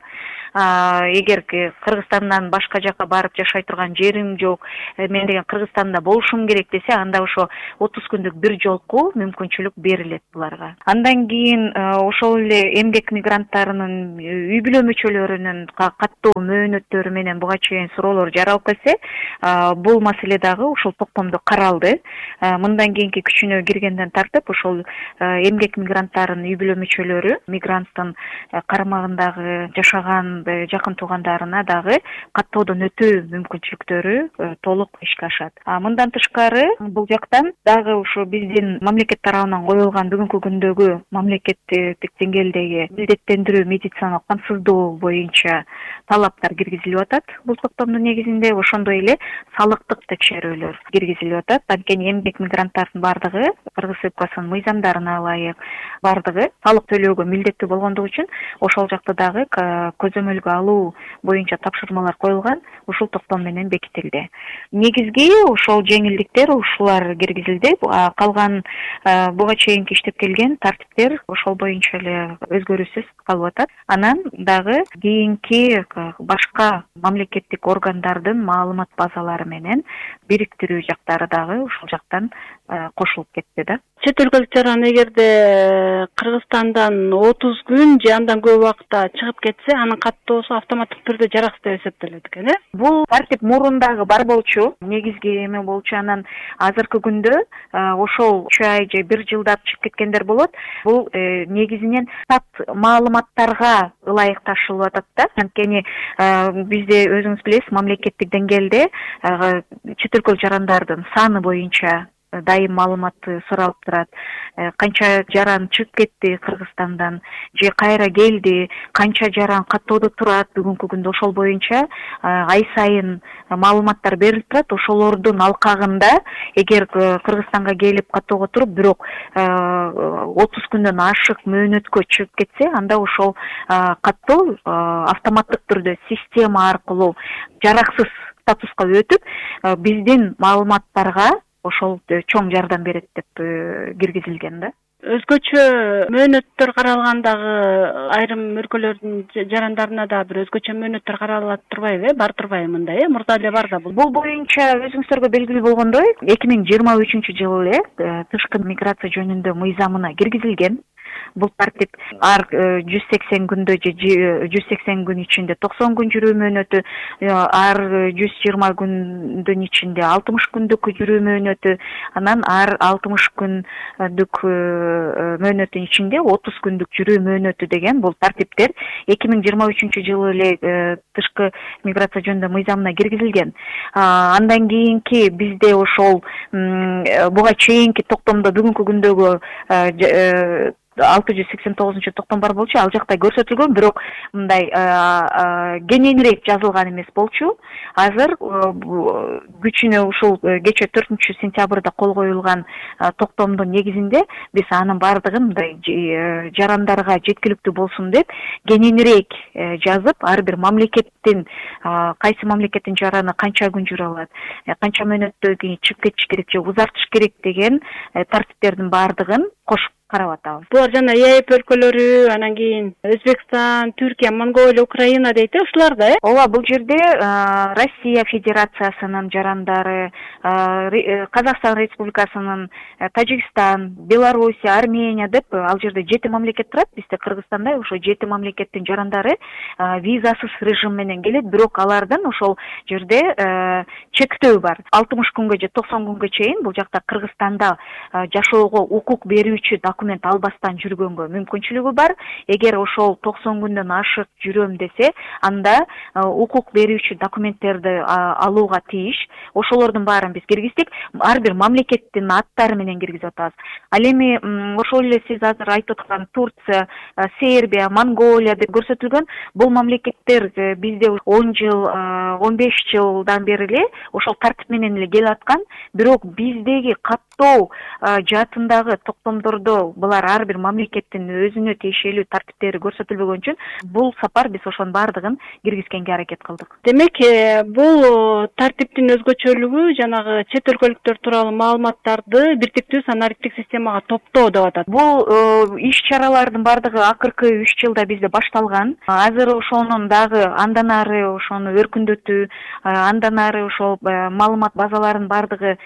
Эгер Кыргызстандан башка жака барып жашай турган жерим жок, мен деген Кыргызстанда болушум керек десе, анда ошо отуз күндүк бир жолку мүмкүнчүлүк берилет буларга. Андан кийин ошол эле эмгек мигранттарынын үй бүлө мүчөлөрүнүн каттуу мөөнөттөрү менен буга чейин суроолор жаралып келсе, бул маселе дагы ушул токтомдо каралды. Мындан кийинки күчүнө киргенден тартып ошол эмгек мигранттарынын үй бүлө мүчөлөрү мигранттын карамагындагы жашаган жакын туугандарына дагы каттоодон өтүү мүмкүнчүлүктөрү толук ишке ашат. Мындан тышкары бул жактан дагы ушу биздин мамлекет тарабынан коюлган бүгүнкү күндөгү мамлекеттик деңгээлдеги милдеттендирүү медициналык камсыздоо боюнча талаптар киргизилип атат. Бул токтомдун негизинде ошондой эле салыктык текшерүүлөр киргизилип атат. Анткени эмгек мигранттардын бардыгы Кыргыз Республикасынын мыйзамдарына ылайык бардыгы салык төлөөгө милдеттүү болгондугу үчүн ошол жакта дагы көзөмөлгө алуу боюнча тапшырмалар коюлган, ушул токтом менен бекитилди. Негизги ошол жеңилдиктер ушулар киргизилди. Калган буга чейинки иштеп келген тартиптер ошол боюнча эле өзгөрүүсүз калып атат. Анан дагы кийинки башка мамлекеттик органдардын маалымат базалары менен бириктирүү жактары дагы ушул жактан кошулуп кетти да. Чет өлкөлүк жаран эгерде Кыргызстандан отуз күн же андан көп убакытта чыгып кетсе, анын каттоосу автоматтык түрдө жараксыз деп эсептелет экен, э? Бул тартип мурундагы бар болчу, негизги эме болчу. Анан азыркы күндө ошол үч ай же бир жылдап чыгып кеткендер болот. Бул негизинен сат маалыматтарга ылайык ташылып атат да. Анткени бизде өзүңүз билесиз, мамлекеттик деңгээлде чет өлкөлүк жарандардын саны боюнча дайым маалыматты суралып турат. Канча жаран чыгып кетти Кыргызстандан, же кайра келди, канча жаран каттоодо турат, бүгүнкү күндө ошол боюнча ай сайын маалыматтар берилип турат. Ошолордун алкагында эгер Кыргызстанга келип каттоого туруп, бирок отуз күндөн ашык мөөнөткө чыгып кетсе, анда ошол каттоо автоматтык түрдө система аркылуу жараксыз статуска өтүп, биздин маалыматтарга ошол чоң жардам берет деп киргизилген да. Өзгөчө мөөнөттөр каралгандагы айрым өлкөлөрдүн жарандарына да бир өзгөчө мөөнөттөр каралат турбайбы, э? Бар турбайбы мындай, э? Мурда эле бар да бул. Бул боюнча өзүңүздөргө белгилүү болгондой, эки миң жыйырма үчүнчү жылы эле тышкы миграция жөнүндө мыйзамына киргизилген. Бул тартип ар жүз сексен күндө же жүз сексен күн ичинде токсон күн жүрүү мөөнөтү, ар жүз жыйырма күндүн ичинде алтымыш күндүк жүрүү мөөнөтү, анан ар алтымыш күндүк мөөнөттүн ичинде отуз күндүк жүрүү мөөнөтү деген бул тартиптер эки миң жыйырма үчүнчү жылы эле тышкы миграция жөнүндө мыйзамына киргизилген. Андан кийинки бизде ошол буга чейинки токтомдо бүгүнкү күндөгү алты жүз сексен тогузунчу токтом бар болчу, ал жакта көрсөтүлгөн, бирок мындай кененирээк жазылган эмес болчу. Азыр күчүнө ушул кечээ төртүнчү сентябрда кол коюлган токтомдун негизинде биз анын бардыгын мындай жарандарга жеткиликтүү болсун деп кененирээк жазып, ар бир мамлекеттин кайсы мамлекеттин жараны канча күн жүрө алат, канча мөөнөттөн кийин чыгып кетиш керек же узартыш керек деген тартиптердин бардыгын кошуп карап атабыз. Булар жана ЕАЭП өлкөлөрү, анан кийин Өзбекстан, Түркия, Монголия, Украина дейт, ушулар да, э? Ооба, бул жерде Россия Федерациясынын жарандары, Казакстан Республикасынын, Тажикстан, Белоруссия, Армения деп ал жерде жети мамлекет турат. Бизде Кыргызстанда ошо жети мамлекеттин жарандары визасыз режим менен келет, бирок алардын ошол жерде чектөө бар. алтымыш күнгө же токсон күнгө чейин бул жакта Кыргызстанда жашоого укук берүүчү документ албастан жүргөнгө мүмкүнчүлүгү бар. Эгер ошол токсон күндөн ашык жүрөм десе, анда укук берүүчү документтерди алууга тийиш. Ошолордун баарын биз киргиздик. Ар бир мамлекеттин аттары менен киргизип атабыз. Ал эми ошол эле сиз азыр айтып аткан Турция, Сербия, Монголия деп көрсөтүлгөн бул мамлекеттер бизде он жыл, он беш жылдан бери эле ошол тартип менен эле келип аткан. Бирок биздеги каттоо жаатындагы токтомдордо булар ар бир мамлекеттин өзүнө тиешелүү тартиптери көрсөтүлбөгөн үчүн бул сапар биз ошонун баардыгын киргизгенге аракет кылдык. Демек, бул тартиптин өзгөчөлүгү жанагы чет өлкөлүктөр тууралуу маалыматтарды биртиктүү санариптик системага топтоо деп атат. Бул иш-чаралардын баардыгы акыркы үч жылда бизде башталган. Азыр ошонун дагы андан ары ошону өркүндөтүү, андан ары ошол маалымат базаларынын баардыгы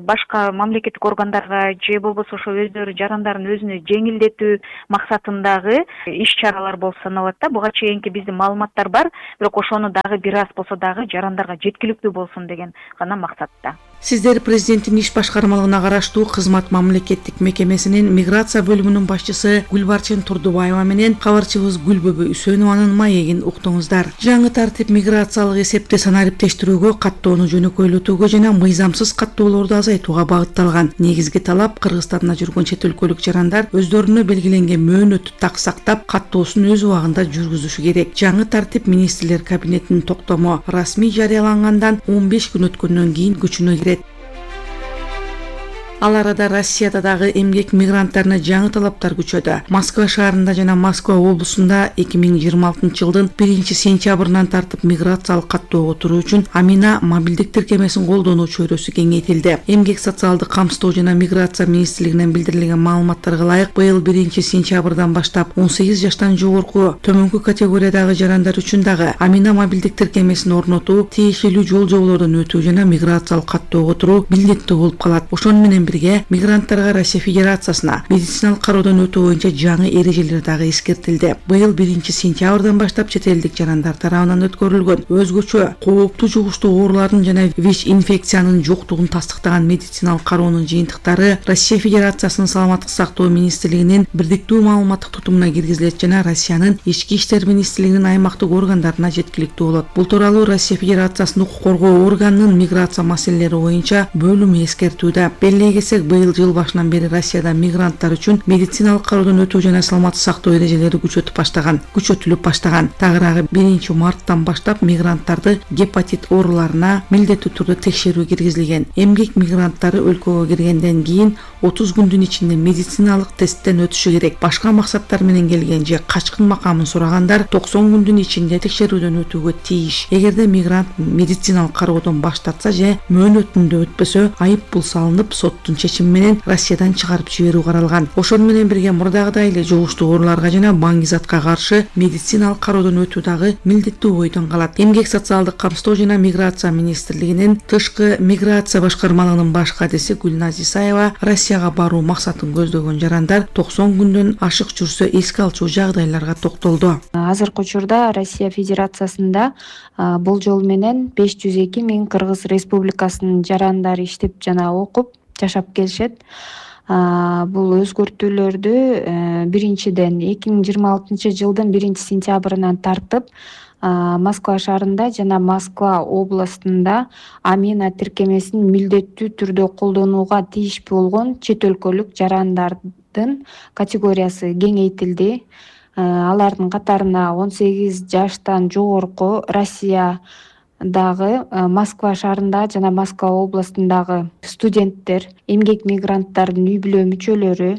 башка мамлекеттик органдарга же болбосо ошо өздөрү жарандардын өзүнө жеңилдетүү максатындагы иш-чаралар болуп саналат да. Буга чейинки биздин маалыматтар бар, бирок ошону дагы бир аз болсо дагы жарандарга жеткиликтүү болсун деген гана максатта. Сиздер президенттин иш башкармалыгына караштуу кызмат мамлекеттик мекемесинин миграция бөлүмүнүн башчысы Гүлбарчын Турдубаева менен кабарчыбыз Гүлбөбө Үсөнованын маегин уктуңуздар. Жаңы тартип миграциялык эсепти санариптештирүүгө, каттоону жөнөкөйлөтүүгө жана мыйзамсыз каттоолорду азайтууга багытталган. Негизги талап Кыргызстанда жүргөн чет өлкөлүк жарандар өздөрүнө белгиленген мөөнөттү так сактап, каттоосун өз убагында жүргүзүшү керек. Жаңы тартип министрлер кабинетинин токтому расмий жарыялангандан он беш күн өткөндөн кийин күчүнө кирет. Ал арада Россияда дагы эмгек мигранттарына жаңы талаптар күчөдү. Москва шаарында жана Москва облусунда эки миң жыйырма алтынчы жылдын биринчи сентябрынан тартып миграциялык каттоого туруу үчүн Амина мобилдик тиркемесин колдонуу чөйрөсү кеңейтилди. Эмгек социалдык камсыздоо жана миграция министрлигинен билдирилген маалыматтарга ылайык, быйыл биринчи сентябрдан баштап он сегиз жаштан жогорку төмөнкү категориядагы жарандар үчүн дагы Амина мобилдик тиркемесин орнотуу, тиешелүү жол жоболордон өтүү жана миграциялык каттоого туруу милдеттүү болуп калат. Ошону менен мигранттарга Россия Федерациясына медициналык кароодон өтүү боюнча жаңы эрежелер дагы эскертилди. Быйыл биринчи сентябрдан баштап чет элдик жарандар тарабынан өткөрүлгөн өзгөчө кооптуу жугуштуу оорулардын жана ВИЧ инфекциянын жоктугун тастыктаган медициналык кароонун жыйынтыктары Россия Федерациясынын саламаттык сактоо министрлигинин бирдиктүү маалыматтык тутумуна киргизилет жана Россиянын ички иштер министрлигинин аймактык органдарына жеткиликтүү болот. Бул тууралуу Россия Федерациясынын укук коргоо органынын миграция маселелери боюнча бөлүмү эскертүүдө. Быйыл жыл башынан бери Россияда мигранттар үчүн медициналык кароодон өтүү жана саламаттык сактоо эрежелери күчөтүп баштаган, күчөтүлүп баштаган. Тагыраагы биринчи марттан баштап мигранттарды гепатит ооруларына милдеттүү түрдө текшерүү киргизилген. Эмгек мигранттары өлкөгө киргенден кийин отуз күндүн ичинде медициналык тесттен өтүшү керек. Башка максаттар менен келген же качкын макамын сурагандар токсон күндүн ичинде текшерүүдөн өтүүгө тийиш. Эгерде мигрант медициналык кароодон баш тартса же мөөнөтүндө өтпөсө, айып бул салынып соттун чечими менен Россиядан чыгарып жиберүү каралган. Ошону менен бирге мурдагыдай эле жугуштуу ооруларга жана баңгизатка каршы медициналык кароодон өтүү дагы милдеттүү бойдон калат. Эмгек социалдык камсыздоо жана миграция министрлигинин тышкы миграция башкармалыгынын баш кадиси Гүлназ Исаева Россияга баруу максатын көздөгөн жарандар токсон күндөн ашык жүрсө эске алчу жагдайларга токтолду. Азыркы учурда Россия Федерациясында болжол менен беш жүз эки миң Кыргыз Республикасынын жарандары иштеп жана окуп жашап келишет. Бул өзгөртүүлөрдү биринчиден эки миң жыйырма алтынчы жылдын биринчи сентябрынан тартып Москва шаарында жана Москва областында Амина тиркемесин милдеттүү түрдө колдонууга тийиш болгон чет өлкөлүк жарандардын категориясы кеңейтилди. Алардын катарына он сегиз жаштан жогорку Россия дагы Москва шаарында жана Москва областындагы студенттер, эмгек мигранттардын үй бүлө мүчөлөрү,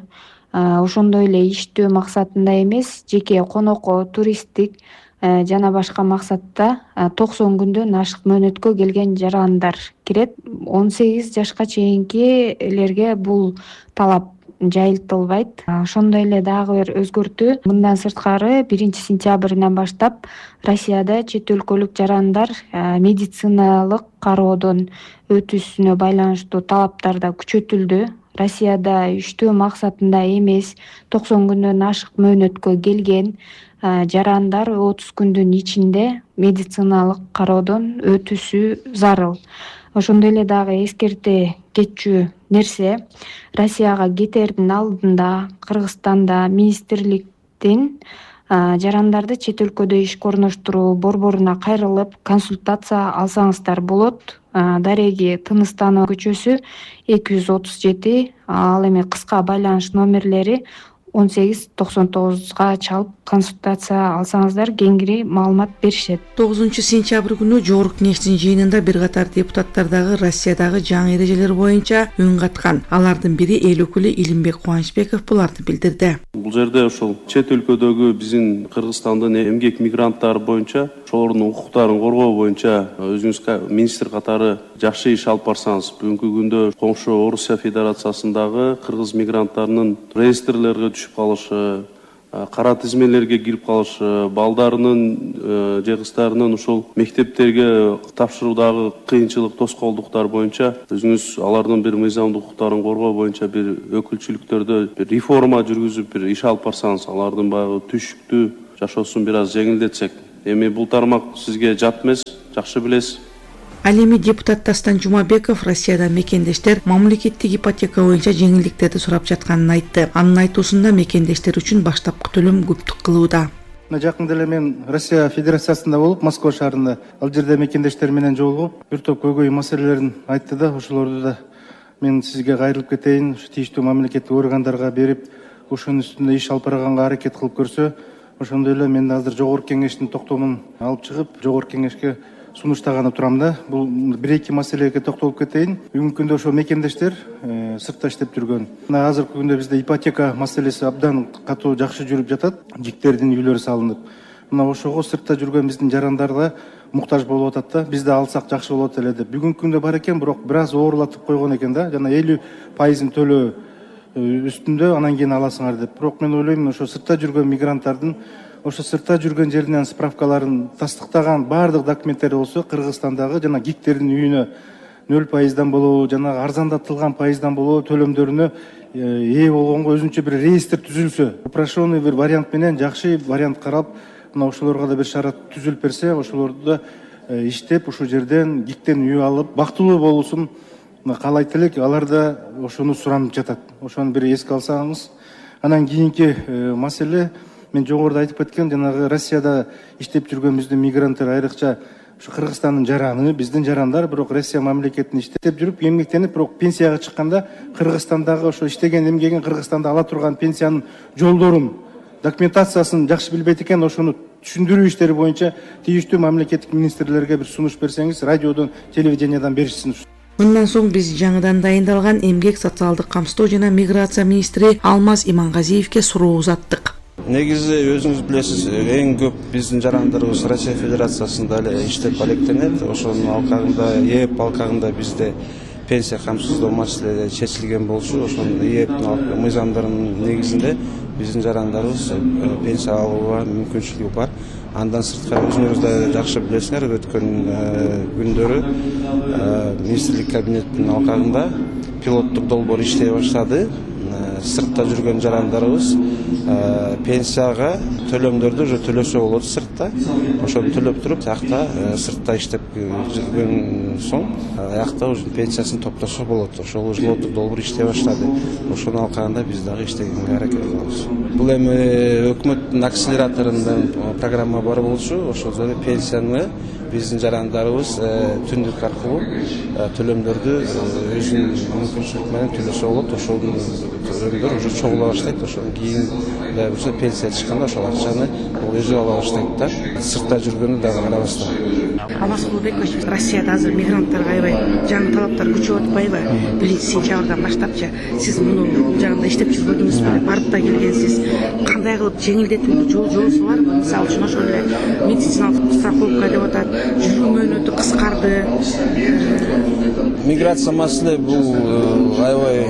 ошондой эле иштөө максатында эмес, жеке конокко, туристтик жана башка максатта токсон күндөн ашык мөөнөткө келген жарандар кирет. он сегиз жашка чейинкилерге бул талап жайылтылбайт. Ошондой эле дагы бир өзгөртүү, мындан сырткары биринчи сентябрынан баштап Россияда чет өлкөлүк жарандар медициналык кароодон өтүүсүнө байланыштуу талаптар да күчөтүлдү. Россияда иштөө максатында эмес, токсон күндөн ашык мөөнөткө келген жарандар отуз күндүн ичинде медициналык кароодон өтүүсү зарыл. Ошондой эле дагы эскерте кетчү нерсе, Россияга кетердин алдында Кыргызстанда министрликтин жарандарды чет өлкөдө ишке орноштуруу борборуна кайрылып консультация алсаңыздар болот. Дареги Тыныстанова көчөсү эки жүз отуз жети, ал эми кыска байланыш номерлери он сегиз токсон тогузга чалып консультация алсаңыздар кеңири маалымат беришет. тогузунчу сентябрь күнү жогорку кеңештин жыйынында бир катар депутаттар дагы Россиядагы жаңы эрежелер боюнча үн каткан. Алардын бири эл өкүлү Илимбек Кубанычбеков буларды билдирди. Бул жерде ошол чет өлкөдөгү биздин Кыргызстандын эмгек мигранттары боюнча ошолордун укуктарын коргоо боюнча өзүңүз министр катары жакшы иш алып барсаңыз, бүгүнкү күндө коңшу Орусия Федерациясындагы кыргыз мигранттарынын реестрлерге түшүп калышы, кара тизмелерге кирип калышы, балдарынын же кыздарынын ушул мектептерге тапшыруудагы кыйынчылык, тоскоолдуктар боюнча өзүңүз алардын бир мыйзамдык укуктарын коргоо боюнча бир өкүлчүлүктөрдө бир реформа жүргүзүп бир иш алып барсаңыз, алардын баягы түшүктүү жашоосун бир аз жеңилдетсек. Эми бул тармак сизге жат эмес, жакшы билесиз. Ал эми депутат Дастан Жумабеков Россияда мекендештер мамлекеттик ипотека боюнча жеңилдиктерди сурап жатканын айтты. Анын айтуусунда мекендештер үчүн баштапкы төлөм көптүк кылууда. Жакында эле мен Россия Федерациясында болуп, Москва шаарында ал жерде мекендештер менен жолугуп, бир топ көйгөй маселелерин айтты да, ошолорду да мен сизге кайрылып кетейин, тийиштүү мамлекеттик органдарга берип, ошонун үстүндө иш алып барганга аракет кылып көрсө, ошондой эле мен азыр жогорку кеңештин токтомун алып чыгып, жогорку кеңешке сунуштаганы турам да. Бул бир-эки маселеге токтолуп кетейин. Бүгүнкү күндө ошо мекендештер э, сыртта иштеп жүргөн. Мына азыркы күндө бизде ипотека маселеси абдан катуу жакшы жүрүп жатат. Жиктердин үйлөрү салынып. Мына ошого сыртта жүргөн биздин жарандарга муктаж болуп атат да. Биз да алсак жакшы болот эле деп. Бүгүнкү күндө бар экен, бирок бир аз оорлатып койгон экен да. Жана элүү пайызын төлөө үстүндө анан кийин аласыңар деп. Бирок мен ойлойм, ошо сыртта жүргөн мигранттардын ошо сыртта жүргөн жеринен справкаларын тастыктаган баардык документтери болсо, Кыргызстандагы жана гиктердин үйүнө нөл пайыздан болобу, жана арзандатылган пайыздан болобу төлөмдөрүнө ээ болгонго өзүнчө бир реестр түзүлсө, упрощенный бир вариант менен жакшы вариант карап, мына ошолорго да бир шарат түзүлүп берсе, ошолорду да иштеп ушул жерден гиктен үй алып, бактылуу болуусун каалайт элек. Алар да ошону суранып жатат. Ошону бир эске алсаңыз. Анан кийинки маселе, мен жогоруда айтып кеткен, жанагы Россияда иштеп жүргөн биздин мигранттар, айрыкча ушу Кыргызстандын жараны, биздин жарандар, бирок Россия мамлекетинде иштеп жүрүп, эмгектенип, бирок пенсияга чыкканда Кыргызстандагы ошо иштеген эмгегин Кыргызстанда ала турган пенсиянын жолдорун, документациясын жакшы билбейт экен. Ошону түшүндүрүү иштери боюнча тийиштүү мамлекеттик министрлерге бир сунуш берсеңиз, радиодон, телевидениядан беришсин. Мындан соң биз жаңыдан дайындалган эмгек, социалдык камсыздоо жана миграция министри Алмаз Имангазиевке суроо узаттык. Негизи өзүңүз билесиз, эң көп биздин жарандарыбыз Россия Федерациясында эле иштеп алектенет. Ошонун алкагында, ээп алкагында бизде пенсия камсыздоо маселеси чечилген болчу. Ошонун ээптин мыйзамдарынын негизинде биздин жарандарыбыз пенсия алууга мүмкүнчүлүгү бар. Андан сырткары өзүңүз да жакшы билесиңер, өткөн күндөрү министрлик кабинеттин алкагында пилоттук долбоор иштей баштады. Сыртта жүргөн жарандарыбыз пенсияга төлөмдөрдү уже төлөсө болот сыртта. Ошону төлөп туруп, аякта сыртта иштеп жүргөн соң аякта уже пенсиясын топтосо болот. Ошол пилоттук долбоор иштей баштады. Ошонун алкагында биз дагы иштегенге аракет кылабыз. Бул эми өкмөттүн акселераторунан программа бар болчу. Ошол жерде пенсияны биздин жарандарыбыз түндүк аркылуу төлөмдөрдү өзүнүн мүмкүнчүлүк менен төлөсө болот. Ошолдун төлөмдөр уже чогула баштайт. Ошондон кийин уже пенсия чыкканда ошол акчаны өзү ала баштайт да. Сыртта жүргөнү дагы карабастан. Алмаз Кубанычбекович, Россияда азыр мигранттарга аябай жаңы талаптар күчөп атпайбы? Биринчи сентябрдан баштапчы сиз муну жагында иштеп жүргөнүңүзбү? Барып да келгенсиз. Кандай кылып жеңилдетүүнү жол жолусу барбы? Мисалы үчүн ошол эле медициналык страховка деп атат, жүрүү мөөнөтү кыскарды. Миграция маселе бул аябай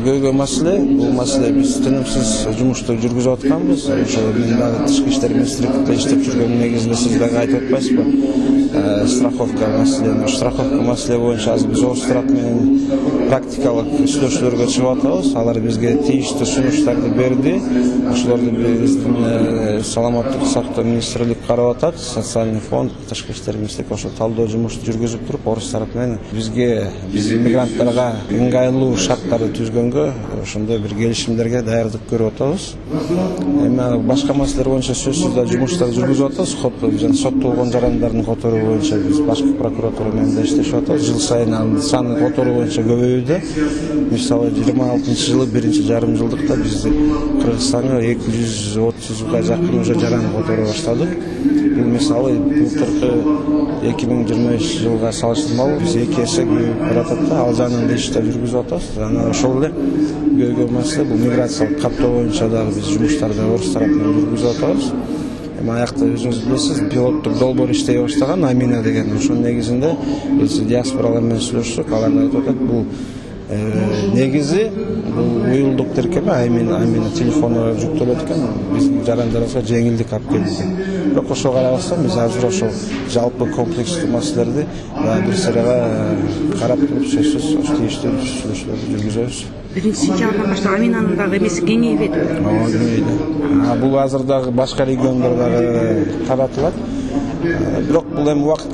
көйгөй маселе. Бул маселе биз тынымсыз жумушту жүргүзүп атканбыз. Ошо мен дагы тышкы иштер министрликте иштеп жүргөн негизинде сиз дагы айтып атпайсызбы? Страховка маселе, страховка маселе боюнча азыр биз Орустрат менен практикалык сүйлөшүүлөргө чыгып атабыз. Алар бизге тийиштүү сунуштарды берди. Ошолорду биздин саламаттык сактоо министрлиги карап атат. Социальный фонд, тышкы иштер министрлиги ошо талдоо жумушту жүргүзүп туруп, Орустрат менен бизге биздин мигранттарга ыңгайлуу шарттарды түзгөнгө ошондой бир келишимдерге даярдык көрүп атабыз. Эми башка маселелер боюнча сөзсүз да жумуштарды жүргүзүп атабыз. Сот жана соттолгон жарандардын которуу боюнча биз башкы прокуратура менен да иштешип атабыз. Жыл сайын анын саны которуу боюнча көбөйүүдө. Мисалы жыйырма алтынчы жылы биринчи жарым жылдыкта биз Кыргызстанга эки жүз отузга жакын уже жаран которо баштадык. Бул мисалы былтыркы эки миң жыйырма бешинчи жылга салыштырмалуу биз эки эсе көбөйүп баратат да, ал жагынан иштеп жүргүзүп атабыз. Жана ошол эле көйгөй маселе бул миграциялык каттоо боюнча дагы биз жумуштарды орус тарапынан жүргүзүп атабыз. Эми аякта өзүңүз билесиз, пилоттук долбоор иштей баштаган Амина деген. Ошонун негизинде биз диаспоралар менен сүйлөшсөк, алар айтып атат, бул негизи бул уюлдук тиркеме Амина Амина телефону жүктөлөт экен, биздин жарандарыбызга жеңилдик алып келди. Бирок ошого карабастан биз азыр ошол жалпы комплекстүү маселелерди бир сырага карап туруп сөзсүз тийиштүү сүйлөшүүлөрдү жүргүзөбүз. биринчи сентябрдан баштап Аминанын дагы эмеси кеңейбеди. Ооба, кеңейди. Бул азыр дагы башка региондорго таратылат. Бирок бул эми убакыт